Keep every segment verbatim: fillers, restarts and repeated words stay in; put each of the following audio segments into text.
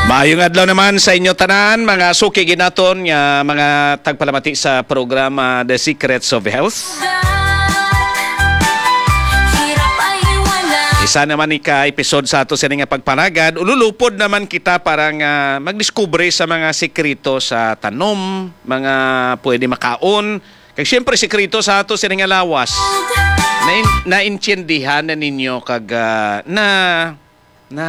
Maayong adlaw naman sa inyo tanan, mga suki ginaton nga mga tagpalamati sa programa The Secrets of Health. Isa naman ni ka episode sa ato sini nga pagpanagad. Ululupod naman kita para nga magdiskubre sa mga sekreto sa tanom, mga pwede makaon, kag siyempre sekreto sa ato sini nga lawas. Na naintindihan na ninyo kag ah, na na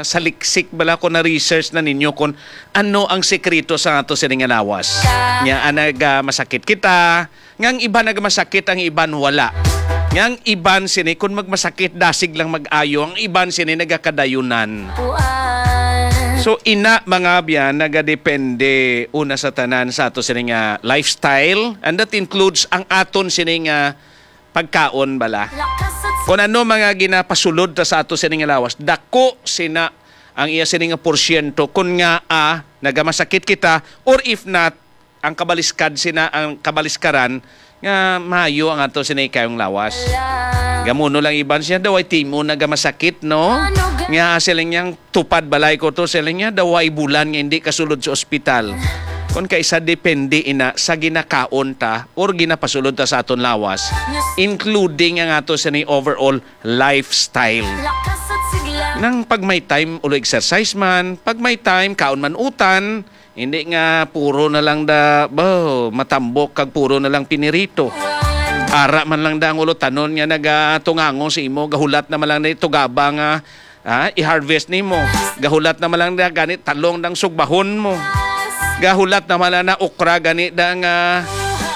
saliksik bala ko, na research na ninyo kung ano ang sekreto sa ato sini nga lawas. Nya, ah, nag, ah, masakit kita, nga ang iban nagmasakit, ang iban wala. Nga ang iban sini, kung magmasakit, dasig lang mag-ayo, ang iban sini nagakadayunan. So, ina, mga abyan, nagadepende una sa tanan sa ato sini nga lifestyle, and that includes ang aton sini nga pagkaon bala. Kung ano mga ginapasulod ta sa ato sini nga lawas, dako sina ang iya sini nga porsyento kung nga, ah, nagamasakit kita, or if not, ang kabaliskad sina ang kabaliskaran nga maayo ang ato sini kayong lawas. Gamuno lang iban siya daw ay timo nagamasakit, no? Nga siling niyang tupad balay ko to, siling niya, daw way bulan nga hindi kasulod sa ospital. Kon kaisa depende ina sa ginakaon ta or ginapasulod ta sa aton lawas, including ang ato sa ni overall lifestyle. Nang pag may time, ulo exercise man, pag may time, kaon man utan, hindi nga puro na lang da, bo, matambok kag puro na lang pinirito. Ara man lang da ang ulo tanon nga nagatungango sa imo, gahulat na man lang ni tugaba nga ah, i-harvest nimo. Gahulat naman lang na gani talong dang sugbahon mo. Gahulat naman lang na okra gani dang ah,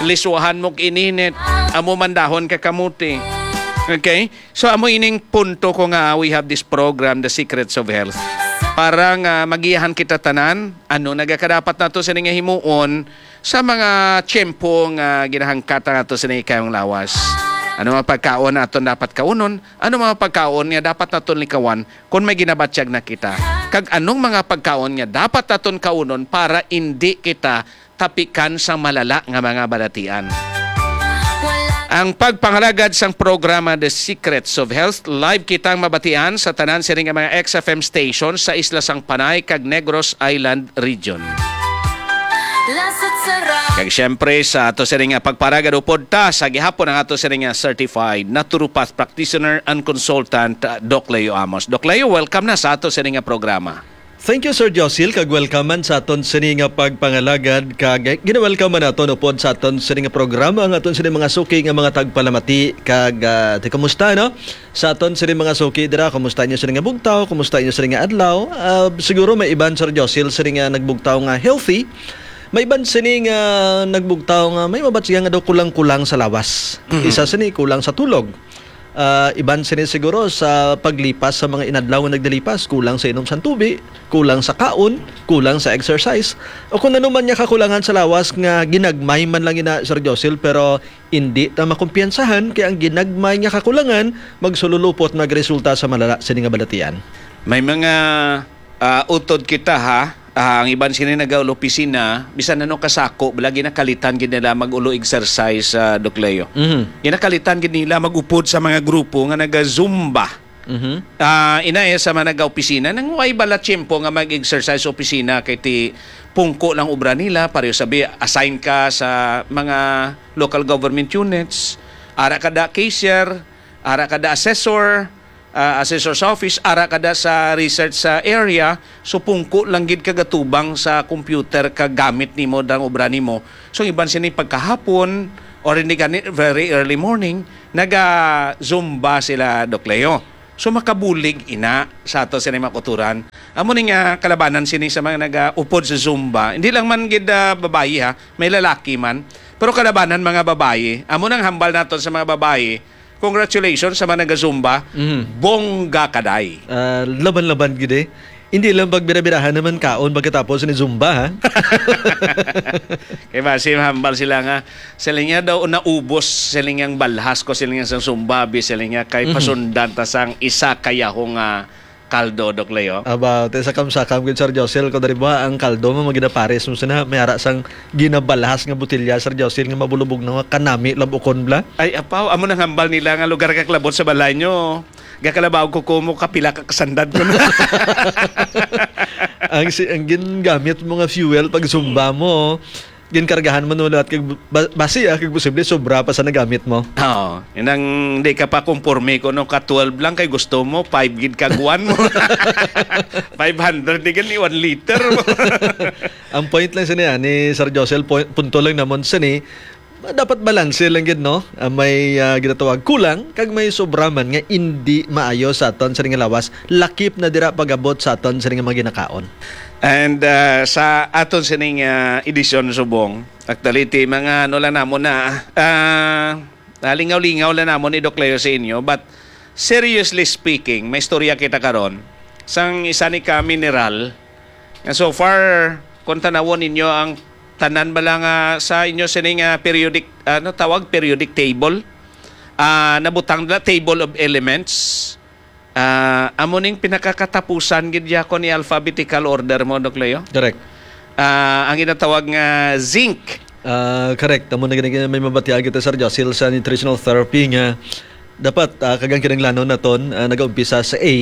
liswahan mo ininit. Amo man dahon ka kamuti. Okay? So amo ining punto ko nga we have this program, The Secrets of Health. Para nga magiyahan kita tanan, ano nagakadapat nato sini nga himuon sa mga tiyempo nga ginahangkat nato sini kayong lawas. Ano mga pagkaon aton dapat kaunon? Ano mga pagkaon nga dapat naton likawan kon may ginabatyag na kita? Kag anong mga pagkaon nga dapat naton kaunon para indi kita tapikan sang malala nga mga balatian? Ang pagpangalagad sang programa The Secrets of Health, live kitang mabatian sa tanan sini nga mga X F M stations sa Isla sang Panay kag Negros Island Region. Kag siyempre, sa ato sini nga pagparagad, upod ta sa gihapon ang ato sini nga certified naturopath practitioner and consultant, uh, Doc Leo Amos. Doc Leo, welcome na sa ato sini nga programa. Thank you, Sir Josil, kag welcome man sa aton sini nga pagpangalagad, kag gina-welcome man naton upod sa aton sini nga programa ang aton sini mga suki nga mga tagpalamati, kag ah, ti kumusta, no? Sa aton sini mga suki dira, kumusta inyo sini nga bugtaw, kumusta inyo sini nga adlaw? Ah, siguro may iban, Sir Josil, sini nga nagbugtaw nga healthy, may iban sini nga nagbugtaw nga may mabatsihan nga daw kulang-kulang sa lawas. Mhm. Isa sini kulang sa tulog. Ah, iban sini siguro sa paglipas sa mga inadlaw nga nagdalipas, kulang sa inom sang tubi, kulang sa kaon, kulang sa exercise, o kung ano man nga kakulangan sa lawas nga ginagmay man lang ina, Sir Josil, pero indi ta makumpiyansahan kay ang ginagmay nga kakulangan magsululupot, magresulta sa malala sini nga balatian. May mga ah, utod kita, ha. Ah, ang iban sini nagaulo opisina, bisan ano kasako, bala ginakalitan gid nila mag-ulo exercise, ah, Doc Leo. Mhm. Ginakalitan gid nila mag-upod sa mga grupo nga naga-Zumba. Mhm. Ah, ina, eh, sa mga nagaopisina, nang way bala tiyempo nga mag-exercise sa opisina kay ti pungko lang obra nila, pareho sabi, assign ka sa mga local government units, ara ka da cashier, ara ka da assessor, ah, assessor's office, ara ka da sa research sa area, so pungko lang gid ka gatubang sa computer kag gamit nimo dang obra nimo. So, ang iban sini pagkahapon, or hindi gani, very early morning, naga-Zumba sila, Doc Leo. So, makabulig ina sa ato sini mga kauturan. Amo ni nga kalabanan sini sa mga nagaupod sa Zumba. Hindi lang man gid, ah, babayi, ha, may lalaki man. Pero kalabanan mga babayi. Amo nang hambal naton sa mga babayi. Congratulations sa mga naga-Zumba. Mhm. Bongga ka, day. Ah, laban-laban gid eh. Hindi lang pagbirabirahan naman kaon pagkatapos ni Zumba, ha? Kay basi mahambal sila nga, sila niya daw naubos, sila niyang balhas ko, sila niya sa Zumba, bi sila niya kay Mhm. pasundan ta sang isa kayaho nga kaldo, Doc Leo. Aba, te sakam-sakam gid, Sir Josel, ko dari ba ang kaldo mo maginapares mo sina, may ara sang ginabalhas nga botelya, Sir Josel, nga mabulubog na nga kanami labukon bla. Ay, apaw, amo nang hambal nila nga lugar ka klabot sa balay nyo. Gakalabaw ko ko mo kapila ka kasandad ko na. Ang si-, ang gingamit mo nga fuel pag zumba mo, ginkargahan mo no lahat kag ba-, basi, ah, kag posible sobra pa sa nagamit mo. Oo. Inang di ka pa kumporme ko no ka twelve lang kay gusto mo five gid kag one mo. Five hundred di gani one liter mo. Ang point lang sini, ah, ni Sir Josel, point, punto lang namon sini, dapat balanse lang gid, no? Ah, may, ah, ginatawag kulang, kag may sobra man nga indi maayo sa aton sini nga lawas, lakip na dira pag-abot sa aton sini nga mga ginakaon. And, ah, sa aton sining, ah, edisyon subong, actually, ti mga ano lang namon na, ah, nalingaw-lingaw lang namon ni Doc Leo sa inyo, but seriously speaking, may istorya kita karon sang isa ni ka mineral nga so far, kung tanawon ninyo ang tanan bala nga sa inyo sini nga periodic, ano tawag, periodic table, ah, nabutang na table of elements. Ah, amo ning pinakakatapusan gid, Diakon, ni alphabetical order mo, Doc Leo. Correct. Ah, ang ginatawag nga zinc. Ah, correct. Amo na gani may mabatian kita, Sir Josil, sa nutritional therapy nga dapat, ah, kagang kinahanglanon naton, ah, nagaumpisa sa A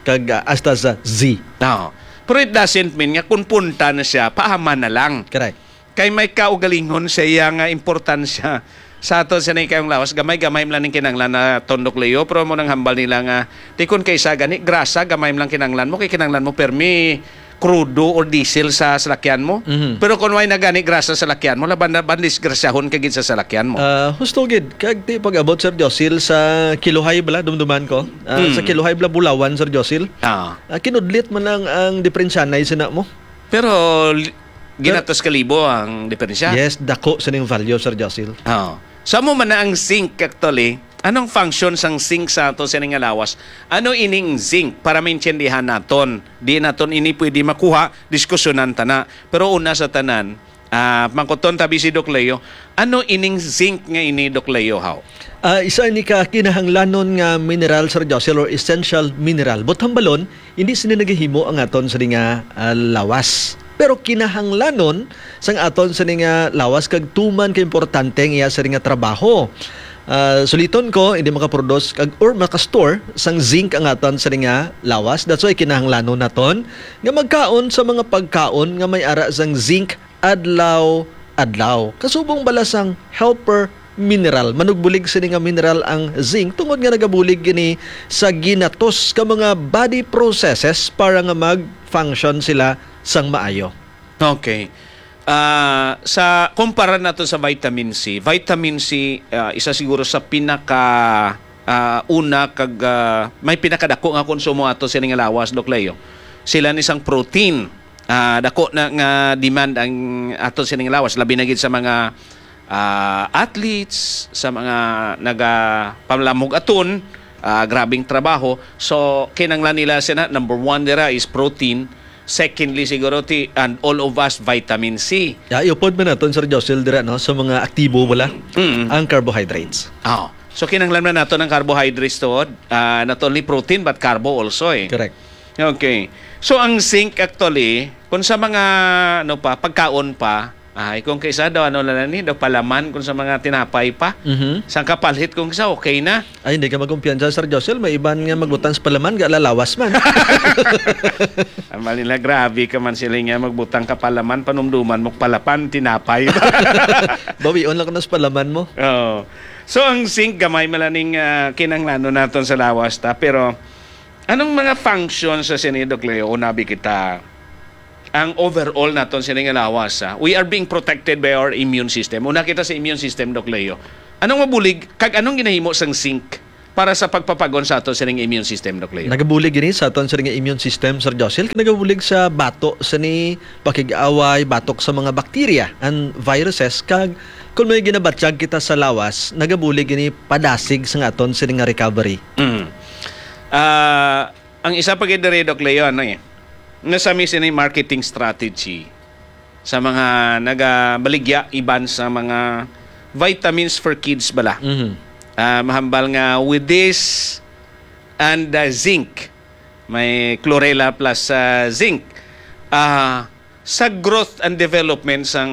kag, ah, hasta sa Z. No. Pero it doesn't mean nga kung punta na siya, paaman na lang. Correct. Kay may kaugalingon sa iya nga importansya sa aton sa nang kayong lawas. Gamay-gamay man lang ning kinahanglan na tondok, Leo, pero mo nang hambal nila nga, di kun kaysa gani, grasa, gamay man lang kinahanglan mo, kay kinahanglan mo permi krudo or diesel sa salakyan mo. Mhm. Pero kung way na gani grasa sa salakyan mo, laban na ban disgrasyahon ka gid sa salakyan mo. Ah, husto gid, kag ti pag-abot, Sir Josil, sa kiluhay bala, dumduman ko. Ah, sa Mm. kiluhay bala, bulawan, Sir Josil. Ah. Ah, kinudlit man lang ang diperensyanay sina mo. Pero li-, Pero ginatos ka libo ang diperensya. Yes, dako sa ning value, Sir Josil. Oo. Sa mo man na ang zinc, actually, anong function sang zinc sa ato sining nga lawas? Ano ining zinc para maintindihan naton? Di naton ini pwede makuha, diskusyonan ta na. Pero una sa tanan, ah, mangkuton tabi si Doc Leo, ano ining zinc nga ini, Doc Leo, haw? Ah, isa ini ka kinahanglanon nga mineral, Sir Josil, or essential mineral. But hambalon, hindi sini nagahimo ang aton sini nga, ah, lawas. Pero kinahanglanon sang aton sini nga lawas kag tuman ka importante ang iya sini nga trabaho. Ah, suliton ko, hindi makaproduce kag or makastore sang zinc ang aton sini nga lawas. That's why kinahanglanon naton nga magkaon sa mga pagkaon nga may ara sang zinc adlaw-adlaw. Kasubong bala sang helper mineral. Manugbulig sini nga mineral ang zinc tungod nga nagabulig ini sa ginatos ka mga body processes para nga mag-function sila sang maayo. Okay. Ah, sa kumpara nato sa vitamin C, vitamin C, ah, isa siguro sa pinaka, ah, una kag, ah, may pinakadako nga konsumo ato sini nga lawas, Doc Leo. Sila ni sang protein. Ah, dako na nga demand ang ato sining lawas, labi na gid sa mga, ah, athletes, sa mga nagapamlamog aton, ah, grabing trabaho. So, kinanglan nila sina, number one dira is protein, secondly siguro ti, and all of us, vitamin C. Ya, iupod man naton, Sir Josil, dira, no, sa mga aktibo wala, Mm. ang carbohydrates. Oh. So, kinanglan man naton ang carbohydrates tuod, ah, not only protein but carbo also, eh. Correct. Okay. So, ang zinc actually, kung sa mga, ano pa, pagkaon pa, ay, kung kaysa daw, ano lang ni, daw palaman kung sa mga tinapay pa. Mhm. Sang kapalit kung sa okay na. Ay, hindi ka magkumpiyansa, Sir Josel. May iban nga magbutang sa palaman, ga lalawas man. Ang mali na, grabe ka man sila nga magbutang ka palaman, panumduman mo palapan, tinapay. Bawion lang ka na sa palaman mo. Oo. So, ang zinc, gamay malaning, ah, kinanglanon naton sa lawas ta. Pero, anong mga functions sa sini, Doc Leo? Unabi kita, ang overall naton sini nga lawas, ah. We are being protected by our immune system. Una kita sa immune system, Doc Leo. Anong mabulig, kag anong ginahimo sang zinc para sa pagpapagon sa aton sining immune system, Doc Leo? Nagabulig ini sa aton sining immune system, Sir Josil. Nagabulig sa bato sini pakig-away, batok sa mga bakterya and viruses, kag kung may ginabatyag kita sa lawas, nagabulig ini padasig sa aton sini nga recovery. Mm. Ah, ang isa pa gid diri, Doc Leo, ano eh, nasa mi sini marketing strategy sa mga nagabaligya iban sa mga vitamins for kids bala. Mhm. Ah, mahambal nga with this and, ah, zinc, may chlorella plus, ah, zinc. Ah, sa growth and development sang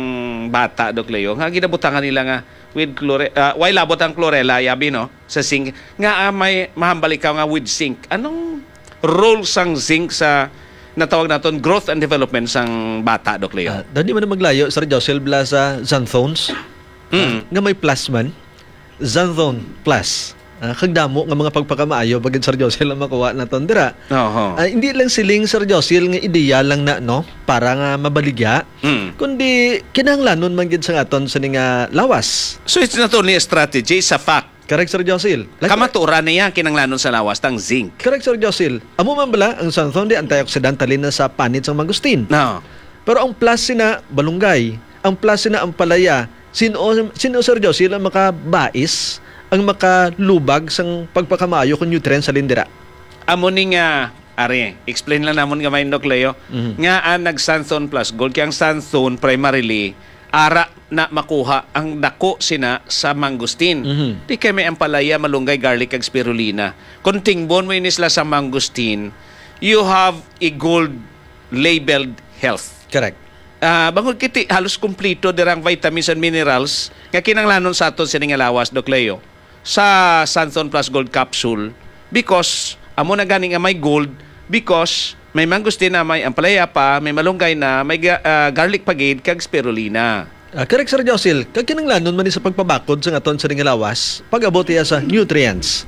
bata, Doc Leo, nga ginabutangan nila nga with chlore-, ah, way labot ang chlorella, yabi, no? Sa zinc, nga, ah, may mahambal ikaw nga with zinc. Anong role sang zinc sa natawag naton growth and development sang bata, Doc Leo. Ah, daw di man na maglayo, Sir Josel, bala sa Xanthones, ah, Mm. nga may plus man. Xanthone Plus. Ah, kag damo nga mga pagpakamaayo pa gid, Sir Josel, ang makuha naton dira. Oho. Ah, hindi lang siling, Sir Josel, nga ideya lang na, no, para nga mabaligya, Mm. kundi kinahanglanon man gid sa aton sini nga lawas. So, it's not only a strategy, it's a fact. Correct, Sir Josil. Like, kamatuoran niya kinahanglanon sa lawas tang zinc. Correct, Sir Josil. Amo man bala ang xanthone, di antioxidant halin na sa panit sang mangustin. No. Pero ang plus sina, malunggay. Ang plus sina, ampalaya. Sino, sino, Sir Josil, ang makabais, ang makalubag sang pagpakamaayo kung nutrients sa lindira? Amo ni nga, ari, explain lang namon gamay, Doc Leo, Mhm. nga ang nag-xanthone plus gold, kay ang xanthone primarily ara na makuha ang dako sina sa mangustin. Mhm. Di kay may ampalaya, malunggay, garlic, kag spirulina. Kung tingbon mo ini sila sa mangustin, you have a gold labeled health. Correct. Ah, bangod kiti, halos kumplito dira ang vitamins and minerals nga kinahanglanon sa aton sini nga lawas, Doc Leo. Sa Santon Plus Gold Capsule because amo na gani nga may gold, because may mangustin na, may ampalaya pa, may malunggay na, may ga-, ah, garlic pa gid, kag spirulina. Ah, correct, Sir Josil. Kag kinahanglanon man ni sa pagpabakod sa aton sini nga lawas, pag-abot iya sa nutrients.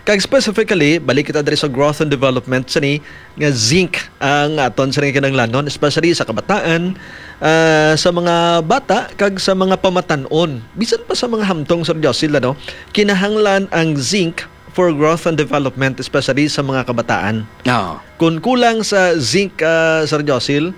Kag specifically, balik kita diri sa growth and development sini nga zinc ang aton sini kinahanglanon, especially sa kabataan, ah, sa mga bata, kag sa mga pamatan-on. Bisan pa sa mga hamtong, Sir Josil, ano, kinahanglan ang zinc for growth and development, especially sa mga kabataan. Oo. Kung kulang sa zinc, ah, Sir Josil,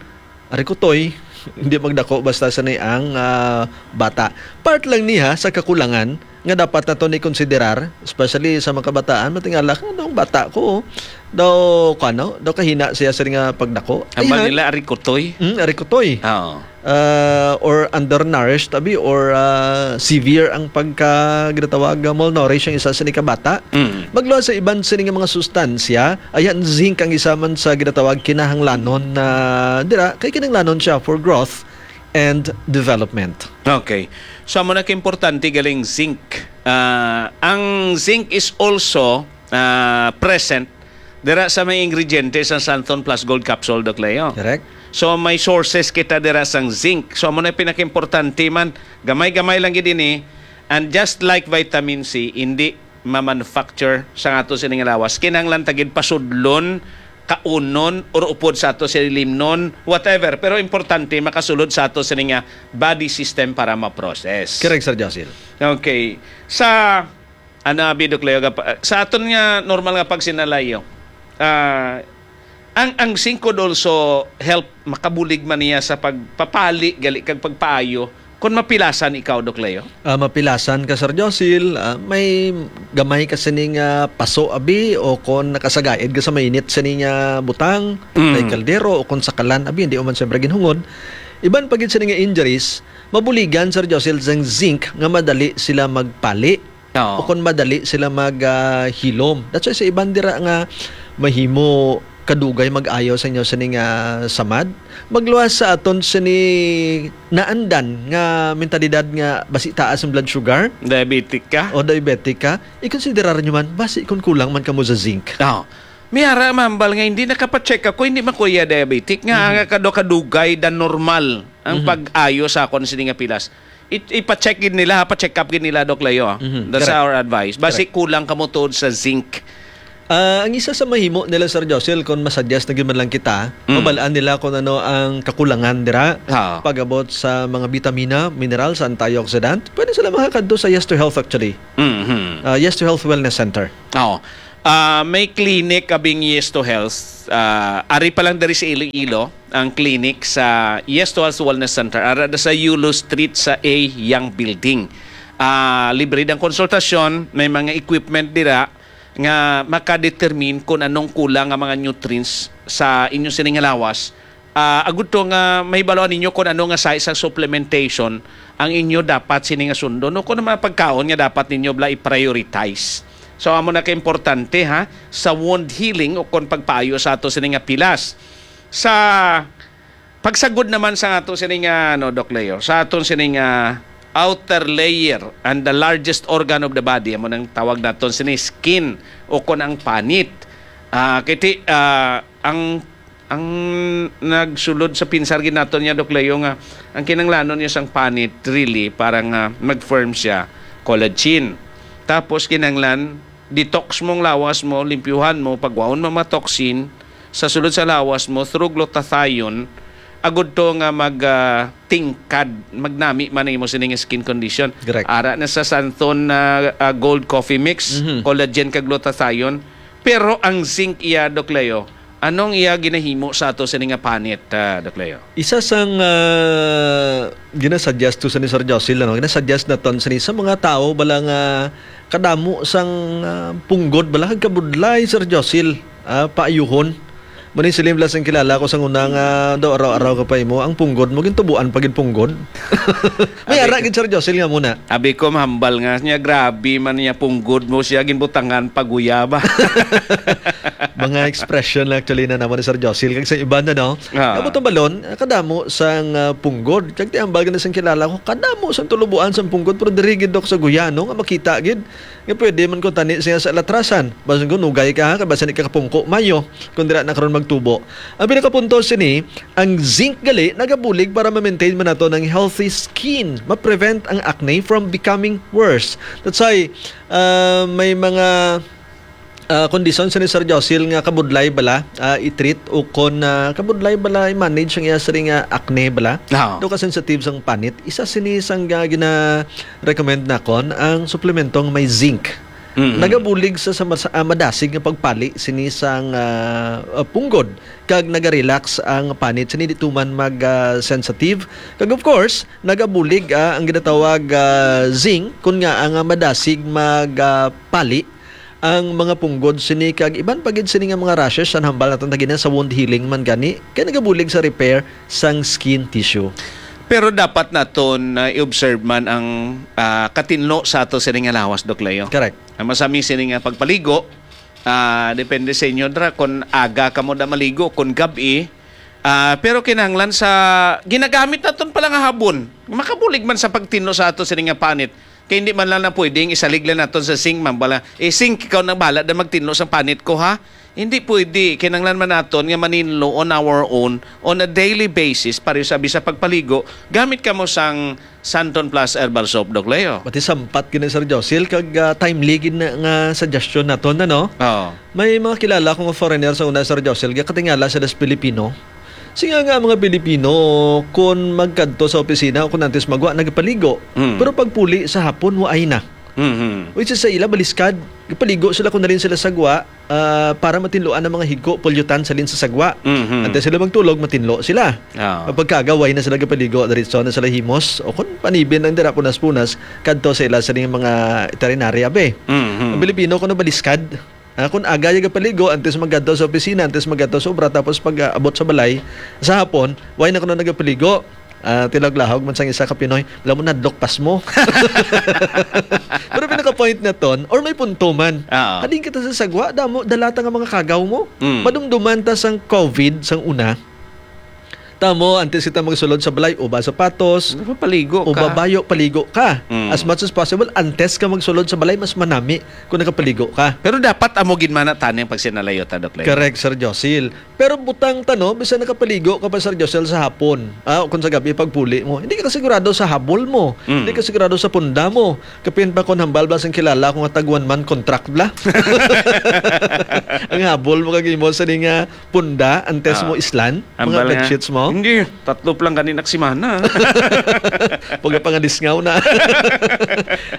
ari kutoy, hindi magdako basta sini ang, ah, bata. Part lang niya sa kakulangan nga dapat nato ni konsiderar, especially sa mga kabataan, matingala ka, "Anong bata ko? Daw, kano, daw kahina siya sa nga pagdako." Aba Ayhan. Nila, ari kutoy. Mm, ari kutoy. Oo. Ah, or undernourished, abi, or, ah, severe ang pagka-, ginatawag, ah, malnourished ang isa sa ni kabata. Mm. Magluwas sa iban sini nga mga sustansya, ayan, zinc ang isa man sa ginatawag kinahanglanon na dira, kay kinahanglanon siya for growth and development. Okay. So, amo na ka importante galing zinc. Ah, ang zinc is also, ah, present dira sa may ingrediente sa Santon Plus Gold Capsule, Doc Leo. Correct. So, may sources kita dira sang zinc. So, amo na pinakaimportante man. Gamay-gamay lang gid ini. And just like vitamin C, hindi ma-manufacture sa ato sining lawas. Kinahanglan ta gid pasudlon, kaunon, or upod sa ato sini limnon, whatever. Pero importante, makasulod sa ato sini nga body system para ma-process. Correct, Sir Josil. Okay. Sa, ano, abi, Doc Leo, gapa-, sa aton nga normal nga pagsinalayo, ah, ang, ang zinc could also help, makabulig man niya sa pagpapali, gali kag pagpaayo, kung mapilasan ikaw, Doc Leo? Ah, mapilasan ka, Sir Josil, ah, may gamay ka sining, ah, paso, abi, o kung nakasagaid ka sa mainit sining, ah, butang, Mm. may kaldero, o kung sakalan, abi, hindi mo man siyempre ginhungod. Iban pa gid sining nga injuries, mabuligan, Sir Josil, sang zinc nga madali sila magpali. Oo. O kung madali sila mag, ah, hilom. That's why sa iban dira nga mahimo kadugay mag-ayo sa inyo sini nga samad, magluwas sa aton sini naandan nga mentalidad nga basi taas ang blood sugar. Diabetic ka? O diabetic ka, i-considerar nyo man, basi kung kulang man kamo sa zinc. Oo. May ara mambal nga hindi nakapacheck ako, hindi man kuya diabetic, nga Mhm. ang kado-, kadugay than normal ang Mhm. pag-ayo sa akon sini nga pilas. I-, ipa-check gid nila, ha, pa-check up gid nila, Doc Leo, ah. Mhm, That's correct. Our advice. Basi Correct. Kulang kamo tuod sa zinc. Ah, ang isa sa mahimo nila, Sir Josil, kung masuggest na gid man lang kita, Mm. mabalaan nila kung ano ang kakulangan dira. Ha. Pag-abot sa mga bitamina, minerals, antioxidant, pwede sila makakadto sa Yes to Health, actually. Mhm. Ah, Yes to Health Wellness Center. Oo. Ah, may clinic kabing Yes to Health. Ah, ari pa lang diri sa Iloilo ang clinic sa Yes to Health Wellness Center. Ara da sa Yulo Street sa A Young Building. Ah, libre ang konsultasyon, may mga equipment dira nga makadetermine kung anong kulang nga mga nutrients sa inyo sining nga lawas. Ah, agud to nga mahibaluan ninyo kung ano nga size sa supplementation ang inyo dapat sini nga sundon, o kung ano mga pagkaon nga dapat ninyo bala i-prioritize. So, amo na ka importante, ha, sa wound healing o kung pagpaayo sa ato sini nga pilas. Sa pagsagod naman sa ato sini nga, ano, Doc Leo, sa aton sini nga outer layer and the largest organ of the body, amo nang tawag naton sini skin o kung ang panit. Ah, kiti, ah, ang Ang nagsulod sa pinsar gid naton niya, Doc Leo, nga ang kinanglanon niya sang panit, really, para nga mag-firm siya, collagen. Tapos kinahanglan, detox mo ang lawas mo, limpyuhan mo, pagwaon mo mga toxin sa sulod sa lawas mo through glutathione, agud to nga mag, ah, tingkad, magnami man ang imo sining skin condition. Correct. Ara na sa Santon na, ah, Gold Coffee Mix, Mhm. collagen kag glutathione. Pero ang zinc iya, Doc Leo, anong iya ginahimo sa ato sini nga panit, ah, Doc Leo? Isa sang, ah, ginasuggest to sa ni Sir Josil, ano? Ginasuggest naton sini sa mga tao bala nga kadamo sang, ah, punggod bala kag kabudlay, Sir Josil, ah, paayuhon. Mani siling bala sang kilala ko sang una nga daw araw-araw ka pa imo, ang punggod mo gintubuan pa gid punggod. May Abi ara ko gid, Sir Josil, nga muna. Abi ko, mahambal nga niya, grabe man niya punggod mo siya ginbutangan paguya ba? Mga expression lang actually na naman ni Sir Josil. Kag sa iba na, no? Ah. Amo tong balon, kadamo sang, ah, punggod. Kag ti hambal gani sang kilala ko, kadamo sang tulubuan sang punggod, pero diri gid, Dok, sa Guyano nga makita gid nga pwede man ko tani siya sa latrasan. Basin ko nugay ka, ha, kay basin di ka kapungko mayo kung dira na karon magtubo. Ang pinakapunto sini, ang zinc gali nagabulig para ma-maintain man nato ang healthy skin, ma-prevent ang acne from becoming worse. That's why, ah, may mga, ah, kondisyon sa ni Sir Josil nga kabudlay bala, ah, i-treat o kon, ah, kabudlay bala i-manage ang iya sini nga acne bala. Ah. Do ka sensitive sang panit. Isa sini sang, ah, gina-recommend nakon ang suplemento nga may zinc. Mhm. Nagabulig sa, sa mas-, ah, madasig nga pagpali sini sang, ah, ah, punggod kag naga-relax ang panit sini di tuman mag, ah, sensitive. Kag of course, nagabulig, ah, ang ginatawag, ah, zinc kun nga ang, ah, madasig mag, ah, pali ang mga punggod sini kag iban pa gid sini nga mga rashes, ang hambal naton tagina sa wound healing man gani, kay nagabulig sa repair sang skin tissue. Pero dapat naton, ah, i-observe man ang, ah, katinlo sa ato sini nga lawas, Doc Leo. Correct. Ang masami sini nga pagpaligo, ah, depende sa inyo dra kung aga kamo da maligo, kung gab-i. Ah, pero kinahanglan sa ginagamit naton pala nga habon, makabulig man sa pagtinlo sa ato sini nga panit. Kay hindi man lang na pwedeng isalig lang naton sa sink, ma'am. Bala, eh, sink, ikaw na bahala na magtinlo sa panit ko, ha? Hindi pwede. Kinahanglan man naton nga maninlo on our own, on a daily basis, pareho sa bisa pagpaligo, gamit kamo sang Santon Plus Herbal Soap, Doc Leo. Pati sampat gid ni Sir Josil, kag, ah, timely gid na nga suggestion naton, ano? Oo. May mga kilala ko nga foreigner sa una, Sir Josil, gakatingala sila sa Pilipino. Siya nga, mga Pilipino, kung magkadto sa opisina o kung antes magwa, nagapaligo. Mm. Pero pagpuli sa hapon, waay na. Mhm. Which is sa ila, baliskad. Gapaligo sila kung nalin sila sagwa, ah, para matinluan ang mga higo, pulyutan sa lin sa sagwa. Mhm. Antes sila magtulog, matinlo sila. Ah. Pagkaga, way na sila gapaligo, diretso na sila himos. O kung panibin lang dira, punas-punas, kadto sa ila sa mga itarinarya, be. Mhm. Ang Pilipino, kung baliskad, ah, kung aga yung gapaligo, antes magkadto sa opisina, antes magkadto sa obra, tapos pag, ah, abot sa balay, sa hapon, way na kuno nagapaligo. Ah, tilaglahog man sang isa ka Pinoy, wala mo nadlok pas mo. Pero pinaka-point naton, or may punto man. Oo. Halin kita sa sagwa, damo, dala ta nga mga kagaw mo. Mm. Madumduman ta sang covid sang una. Tamo, antes kita magsulod sa balay, uba sapatos, Uba paligo uba ka. bayo, paligo ka. Mm. As much as possible, antes ka magsulod sa balay, mas manami kung nakapaligo ka. Pero dapat amo gid man na tani ang pagsinalayo ta, Doc Leo. Correct, Sir Josil. Pero butang ta, no, bisan nakapaligo ka pa, Sir Josil, sa hapon, ah, o kung sa gabi pagpuli mo, hindi ka sigurado sa habol mo. Mm. Hindi ka sigurado sa punda mo. Kapin pa kung hambal ba sang kilala ko nga tag one man contract bla? Ang habol mo kag imo sa nga punda antes Ah. mo islan, Ang mga bala nga, bedsheets mo? Hindi, tatlo pa lang gani nak simana. Pagkapangadisngaw na.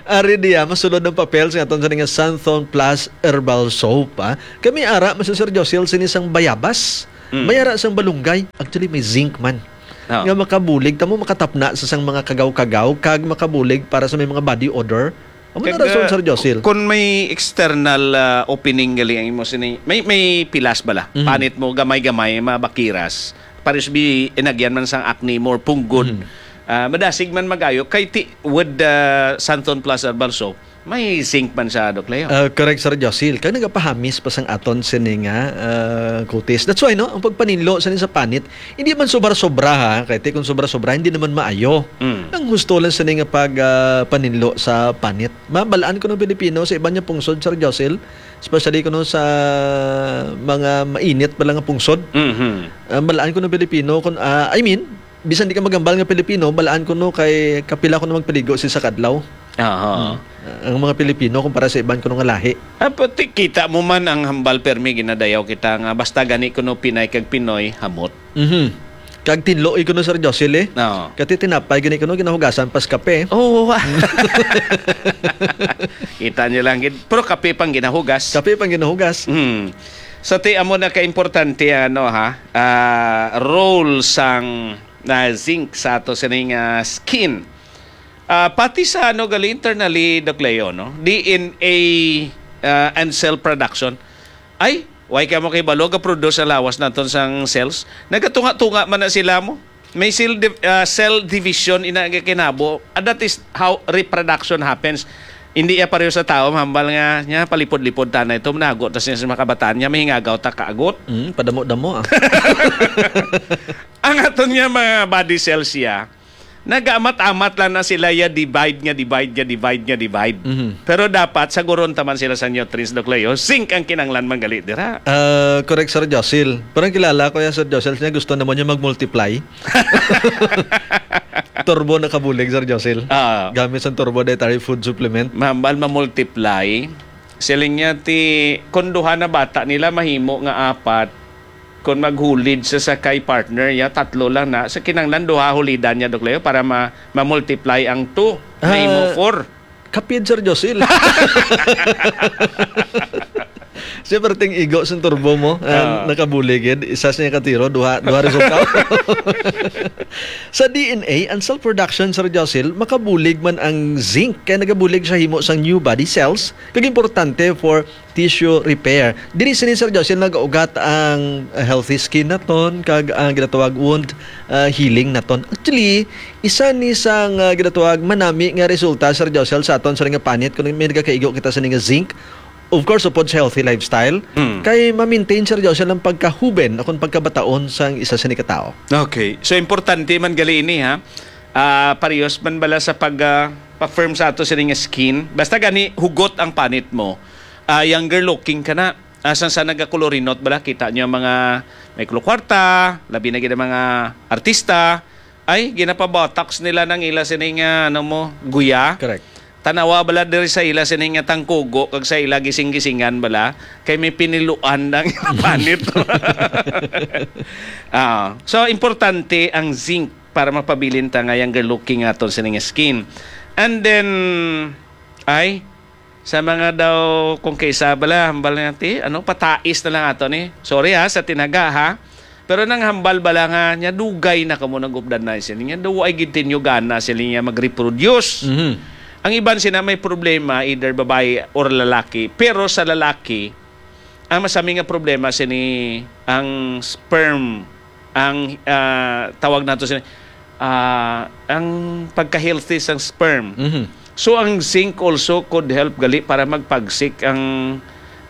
Ari diya, masulod ang papel sa aton sa nga Santhon Plus Herbal Soap, ah. Kami ara, Mister Sir Josil, sini sang bayabas. Mm. May ara sang balunggay. Actually, may zinc man. Ah. Nga makabulig, tamo makatapna sa sang mga kagaw-kagaw, kag makabulig para sa may mga body odor. Amo na Kag, rason, ah, Sir Josil. Kung may external, ah, opening gali ang imo sini, may, may pilas bala. Mhm. Panit mo, gamay-gamay, mabakiras. Paris bi, inagyan man sang acne mo or punggod. Mhm. Ah, madasig man magayo. Kay ti, with the Santon Plus Herbal Soap, May zinc man siya, Doc Leo. Ah, correct, Sir Josil. Kag nagapahamis pa sang aton sini nga ah, kutis. That's why, no, ang pagpaninlo sa sa panit, hindi man sobra-sobra, ha. Kay ti kung sobra-sobra, hindi naman maayo. Mm. Ang gusto lang sini nga pag ah, paninlo sa panit. Mabalaan ko ng Pilipino sa iban niya pungsod, Sir Josil, especially kuno sa mga mainit pala nga pungsod. Mhm. Ah, balaan ko ng Pilipino kung ah, I mean, bisan di ka magambal nga Pilipino, balaan ko no kay kapila ko na magpaligo sa isa kadlaw. Aha. Ang mga Pilipino kumpara sa iban kuno nga lahi. Ah, pati kita mo man ang hambal permi ginadayaw kita nga basta gani kuno Pinay kag Pinoy hamot. Mhm. Kag tinloi ko no, Sir Josil, eh. Oo. Kati tinapay gani kuno ginahugasan pas kape. Oh. Kita niyo lang gid. Pero kape pang ginahugas. Kape pang ginahugas. Hmm. Sa ti amo na ka importante ano ha, ah, role sang na zinc sa ato sining ah, skin. Ah, pati sa ano gali internally, Doc Leo, no? D N A ah, and cell production. Ay, why ka mo kay balo ga produce ang lawas naton sang cells? Nagatunga-tunga man na sila mo. May cell, div- ah, cell division ina nga kinabo. And that is how reproduction happens. Hindi ya pareho sa tao, hambal nga niya palipod-lipod ta na ito, manago ta siya sa mga kabataan niya, mahingagaw ta kaagot. Mm, padamo-damo ah. Ang aton nga mga body cells siya, nagaamat-amat lang na sila ya divide nga divide nga divide nga divide. Mhm. Pero dapat saguron taman sila sa nutrients, Doc Leo. Zinc ang kinanglan man gali dira. Ah, correct, Sir Josil. Pero ang kilala ko yan, Sir Josil, niya gusto naman niya mag-multiply. Turbo na kabulig, Sir Josil. Ah. Gamit sa Turbo Dietary Food Supplement. Mahambal ma-multiply. Siling niya ti kung duha na bata nila mahimo nga apat, kung maghulid sa sakay partner niya, tatlo lang na. Sa kinanglan duha hulidan niya, Doc Leo, para ma ma-multiply ang two. Mahimo Ah, four. Kapid, Sir Josil. Siya perting igo sa turbo mo. Ah. Ang nakabuligid, isa siya katiro, duha, duha resulta. Sa D N A, ang cell production, Sir Josil, makabulig man ang zinc, kaya nagabulig siya himo sang new body cells, kag importante for tissue repair. Diri sini, Sir Josil, nagaugat ang healthy skin naton, kag ang ginatawag wound ah, healing naton. Actually, isa ni sang ah, ginatawag manami nga resulta, Sir Josil, sa aton sa nga panit kung may nagakaigo kita sa nga zinc. Of course, upod sa healthy lifestyle, Mm. kay ma-maintain, Sir Josil, ang pagkahuben akong pagkabataon sang isa sa ni katao. Okay. So, importante man gali ini, ha? Ah, parehas man bala sa pag ah, pa-firm sa ato sini nga skin. Basta gani, hugot ang panit mo. Ah, younger looking ka na. Asan sa nagakolorinot bala, kita niyo ang mga may kwarta, labi na gid ang mga artista, ay, ginapabotox nila ng ila sini nga, ano mo, guya. Correct. Tanawa bala diri sa ila sini nga tangkugo, kag sa ila gising-gisingan bala, kay may piniluan ang panit. Ah, so, importante ang zinc para mapabilin ta nga younger looking aton sini nga skin. And then, ay, sa mga daw, kung kaisa bala, hambal nga ti, ano, patais na lang ato ni. Sorry ha, sa tinaga ha. Pero nang hambal bala nga, niya dugay na kamo nag-updan na sila. Niya daw ay gid tinyo gana sila niya mag-reproduce. Mhm. Ang iban sila may problema, either babae or lalaki. Pero sa lalaki, ang masami nga problema sini ang sperm, ang ah, tawag nato sini, ah, ang pagka-healthy sang sperm. Mhm. So ang zinc also could help gali para magpagsik ang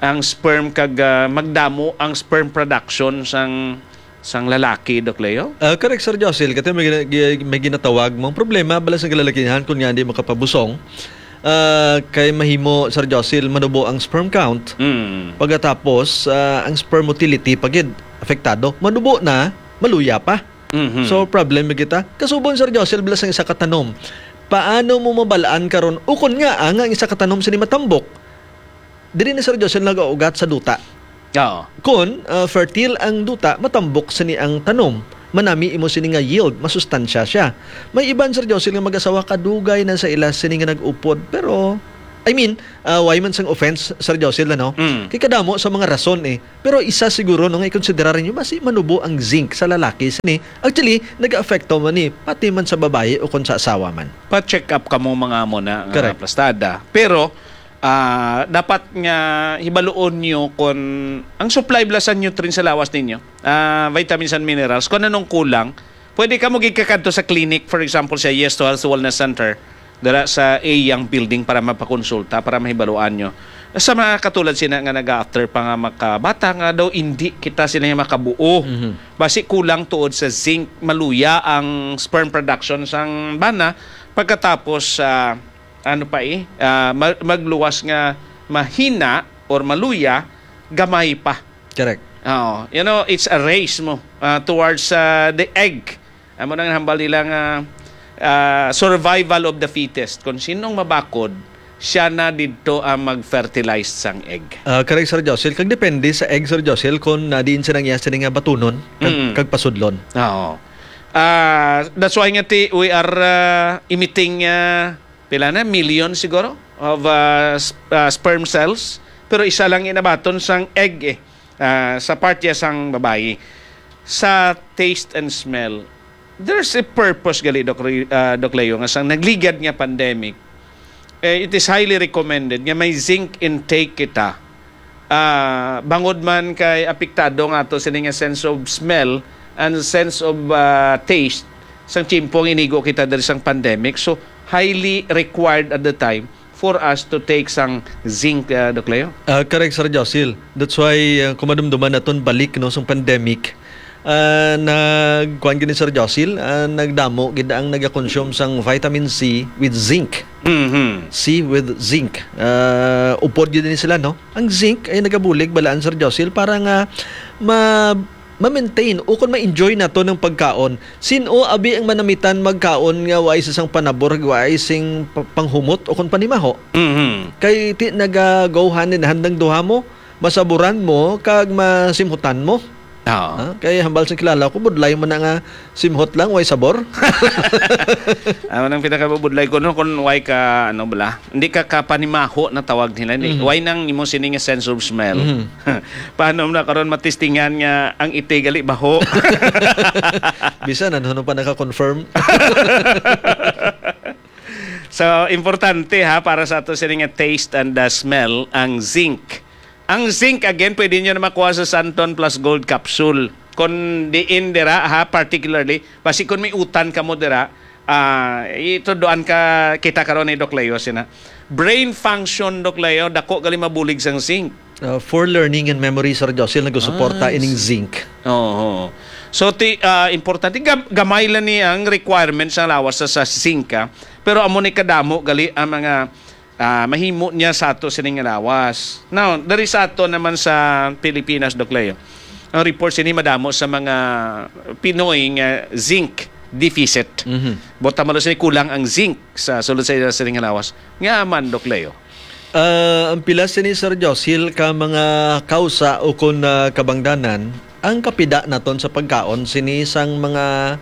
ang sperm kag ah, magdamo ang sperm production sang sang lalaki, Doc Leo. Ah, correct, Sir Josil. Kasi may, gina- gi- may ginatawag mong problema bala sa kalalakihan kung nga hindi makapabusong. Ah, kay mahimo, Sir Josil, manubo ang sperm count. Mm. Pagkatapos, ah, ang sperm motility pagid apektado. Manubo na, maluya pa. Mhm. So, problem na kita. Kasubon, Sir Josil, bala sang isa ka tanom. Paano mo mabalaan karon ukon nga ang, ang isa ka tanom sini matambok? Diri ni Sir Josil nagaugat sa duta. Oo. Kun ah, fertile ang duta, matambok sini ang tanom. Manami imo sini nga yield, masustansya siya. May iban, Sir Josil, nga mag-asawa kadugay na sa ila sini nga nag-upod. Pero, I mean, ah, why man sang offense, Sir Josil, ano? Mm. Kay kadamo sa mga rason eh. Pero isa siguro no, nga ikonsiderar ninyo, basi manubo ang zinc sa lalaki sini. Actually, nag-aapekto man ni, pati man sa babayi o kung sa asawa man. Pa-check up kamo mga amo na nga Correct. Plastada. Pero ah, dapat nga hibaluon nyo kung ang supply bala sa nutrients sa lawas ninyo, ah, vitamins and minerals, kung anong kulang, pwede ka mo gigkakadto sa clinic, for example, sa Yes to Health Wellness Center, dira sa A Young Building para mapakonsulta, para mahibaluan nyo. Sa mga katulad sina nga naga-after pa nga makabata nga daw hindi kita sila nga makabuo. Mhm. Basi kulang tuod sa zinc, maluya ang sperm production sang bana. Pagkatapos, ah, ano pa eh, ah, ma-, magluwas nga mahina or maluya, gamay pa. Correct. Oo. You know, it's a race mo, ah, towards, ah, the egg. Amo nang hambal nila nga, ah, survival of the fittest. Kung sinong mabakod, siya na didto ang mag-fertilize sang egg. Ah, correct, Sir Josil. Kag depende sa egg, Sir Josil, kung, ah, diin siya nangyas sini nga batunon, kag, Mm. kag pasudlon. Oo. Ah, that's why nga ti, we are, ah, emitting, ah, pila na? Million siguro of, ah, sp-, ah, sperm cells. Pero isa lang inabaton sang egg eh. Ah, sa part ya sang babayi. Sa taste and smell, there's a purpose gali, Doc Re-, ah, Doc Leo, nga sang nagligad nga pandemic, eh, it is highly recommended nga may zinc intake kita. Ah, bangod man kay apektado nga ato sini nga sense of smell and sense of, ah, taste sang tiyempo nga inigo kita diri sang pandemic. So, highly required at the time for us to take sang zinc, ah, Doc Leo. Ah, correct, Sir Josil. That's why, ah, kung madumduman naton balik, no, sang pandemic, ah, nagkuan gid ni Sir Josil, ah, nagdamo gid ang nagakonsume sang vitamin C with zinc. Mhm. C with zinc. Ah, upod gid ni sila, no? Ang zinc ay nagabulig balaan, Sir Josil, para nga ma-, ma-maintain o kung ma-enjoy nato ng pagkaon. Sin-o abi ang manamitan magkaon nga waay sa sang panabor, waay sing pa-, panghumot o kung panimaho? Mhm. Kay ti naga-go hand in hand ang duha mo, masaburan mo kag masimhutan mo. Oo. Ha? Kay hambal sa kilala ko, budlay man na nga simhot lang, way sabor. Amo nang pinakabubudlay ko, no, kung way ka, ano bala, hindi ka kapanimaho na tawag nila, ni. Mhm. Way nang imo sini nga sense of smell. Mhm. Paano na karon matistingan nga ang iti gali baho? Bisan ano, ano pa naka-confirm. So, importante ha, para sa ato sini nga taste and, uh, smell, ang zinc. Ang zinc, again, pwede nyo na makuha sa Santon Plus Gold Capsule. Kung diin dira, ha, particularly, basi kung may utan ka mo dira, ah, ituduan ka, kita karon ni Doc Leo, sina. Brain function, Doc Leo, dako gali mabulig sang zinc. Uh, for learning and memory, Sir Josil, nagsuporta Ah, ining zinc. Oo. So, ti, ah, importante, gam-, gamay lang ni ang requirements sa lawas sa, sa zinc, ah. Pero amo ni kadamo gali ang mga, ah, mahimo niya sa ato sining lawas. Now, dari sa ato naman sa Pilipinas, Doc Leo, ang report sini madamo sa mga Pinoy nga zinc deficit. Mhm. Buot mo sini kulang ang zinc sa sulod sa ila sining lawas. Nga man, Doc Leo? Ah, ang pila sini, Sir Josil, ka mga kausa o kun, ah, kabangdanan, ang kapida naton sa pagkaon sini sang mga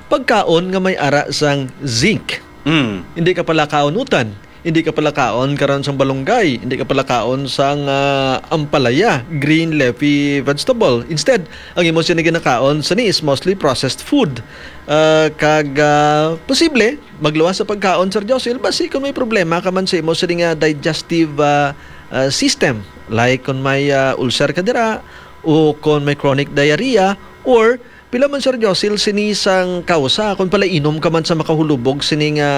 pagkaon nga may ara sang zinc. Mm. Hindi ka pala kaon utan, hindi ka pala kaon karon sang balunggay, hindi ka pala kaon sang, ah, ampalaya, green leafy vegetable. Instead, ang imo sini ginakaon sini is mostly processed food. Ah, kag, ah, posible magluwas sa pagkaon, Sir Josil, basi kung may problema ka man sa imo sini nga digestive, ah, ah, system, like kung may, ah, ulcer ka dira, o kung may chronic diarrhea, or pila man, Sir Josil, sini sang kausa, kung palainom ka man sa makahulubog sini nga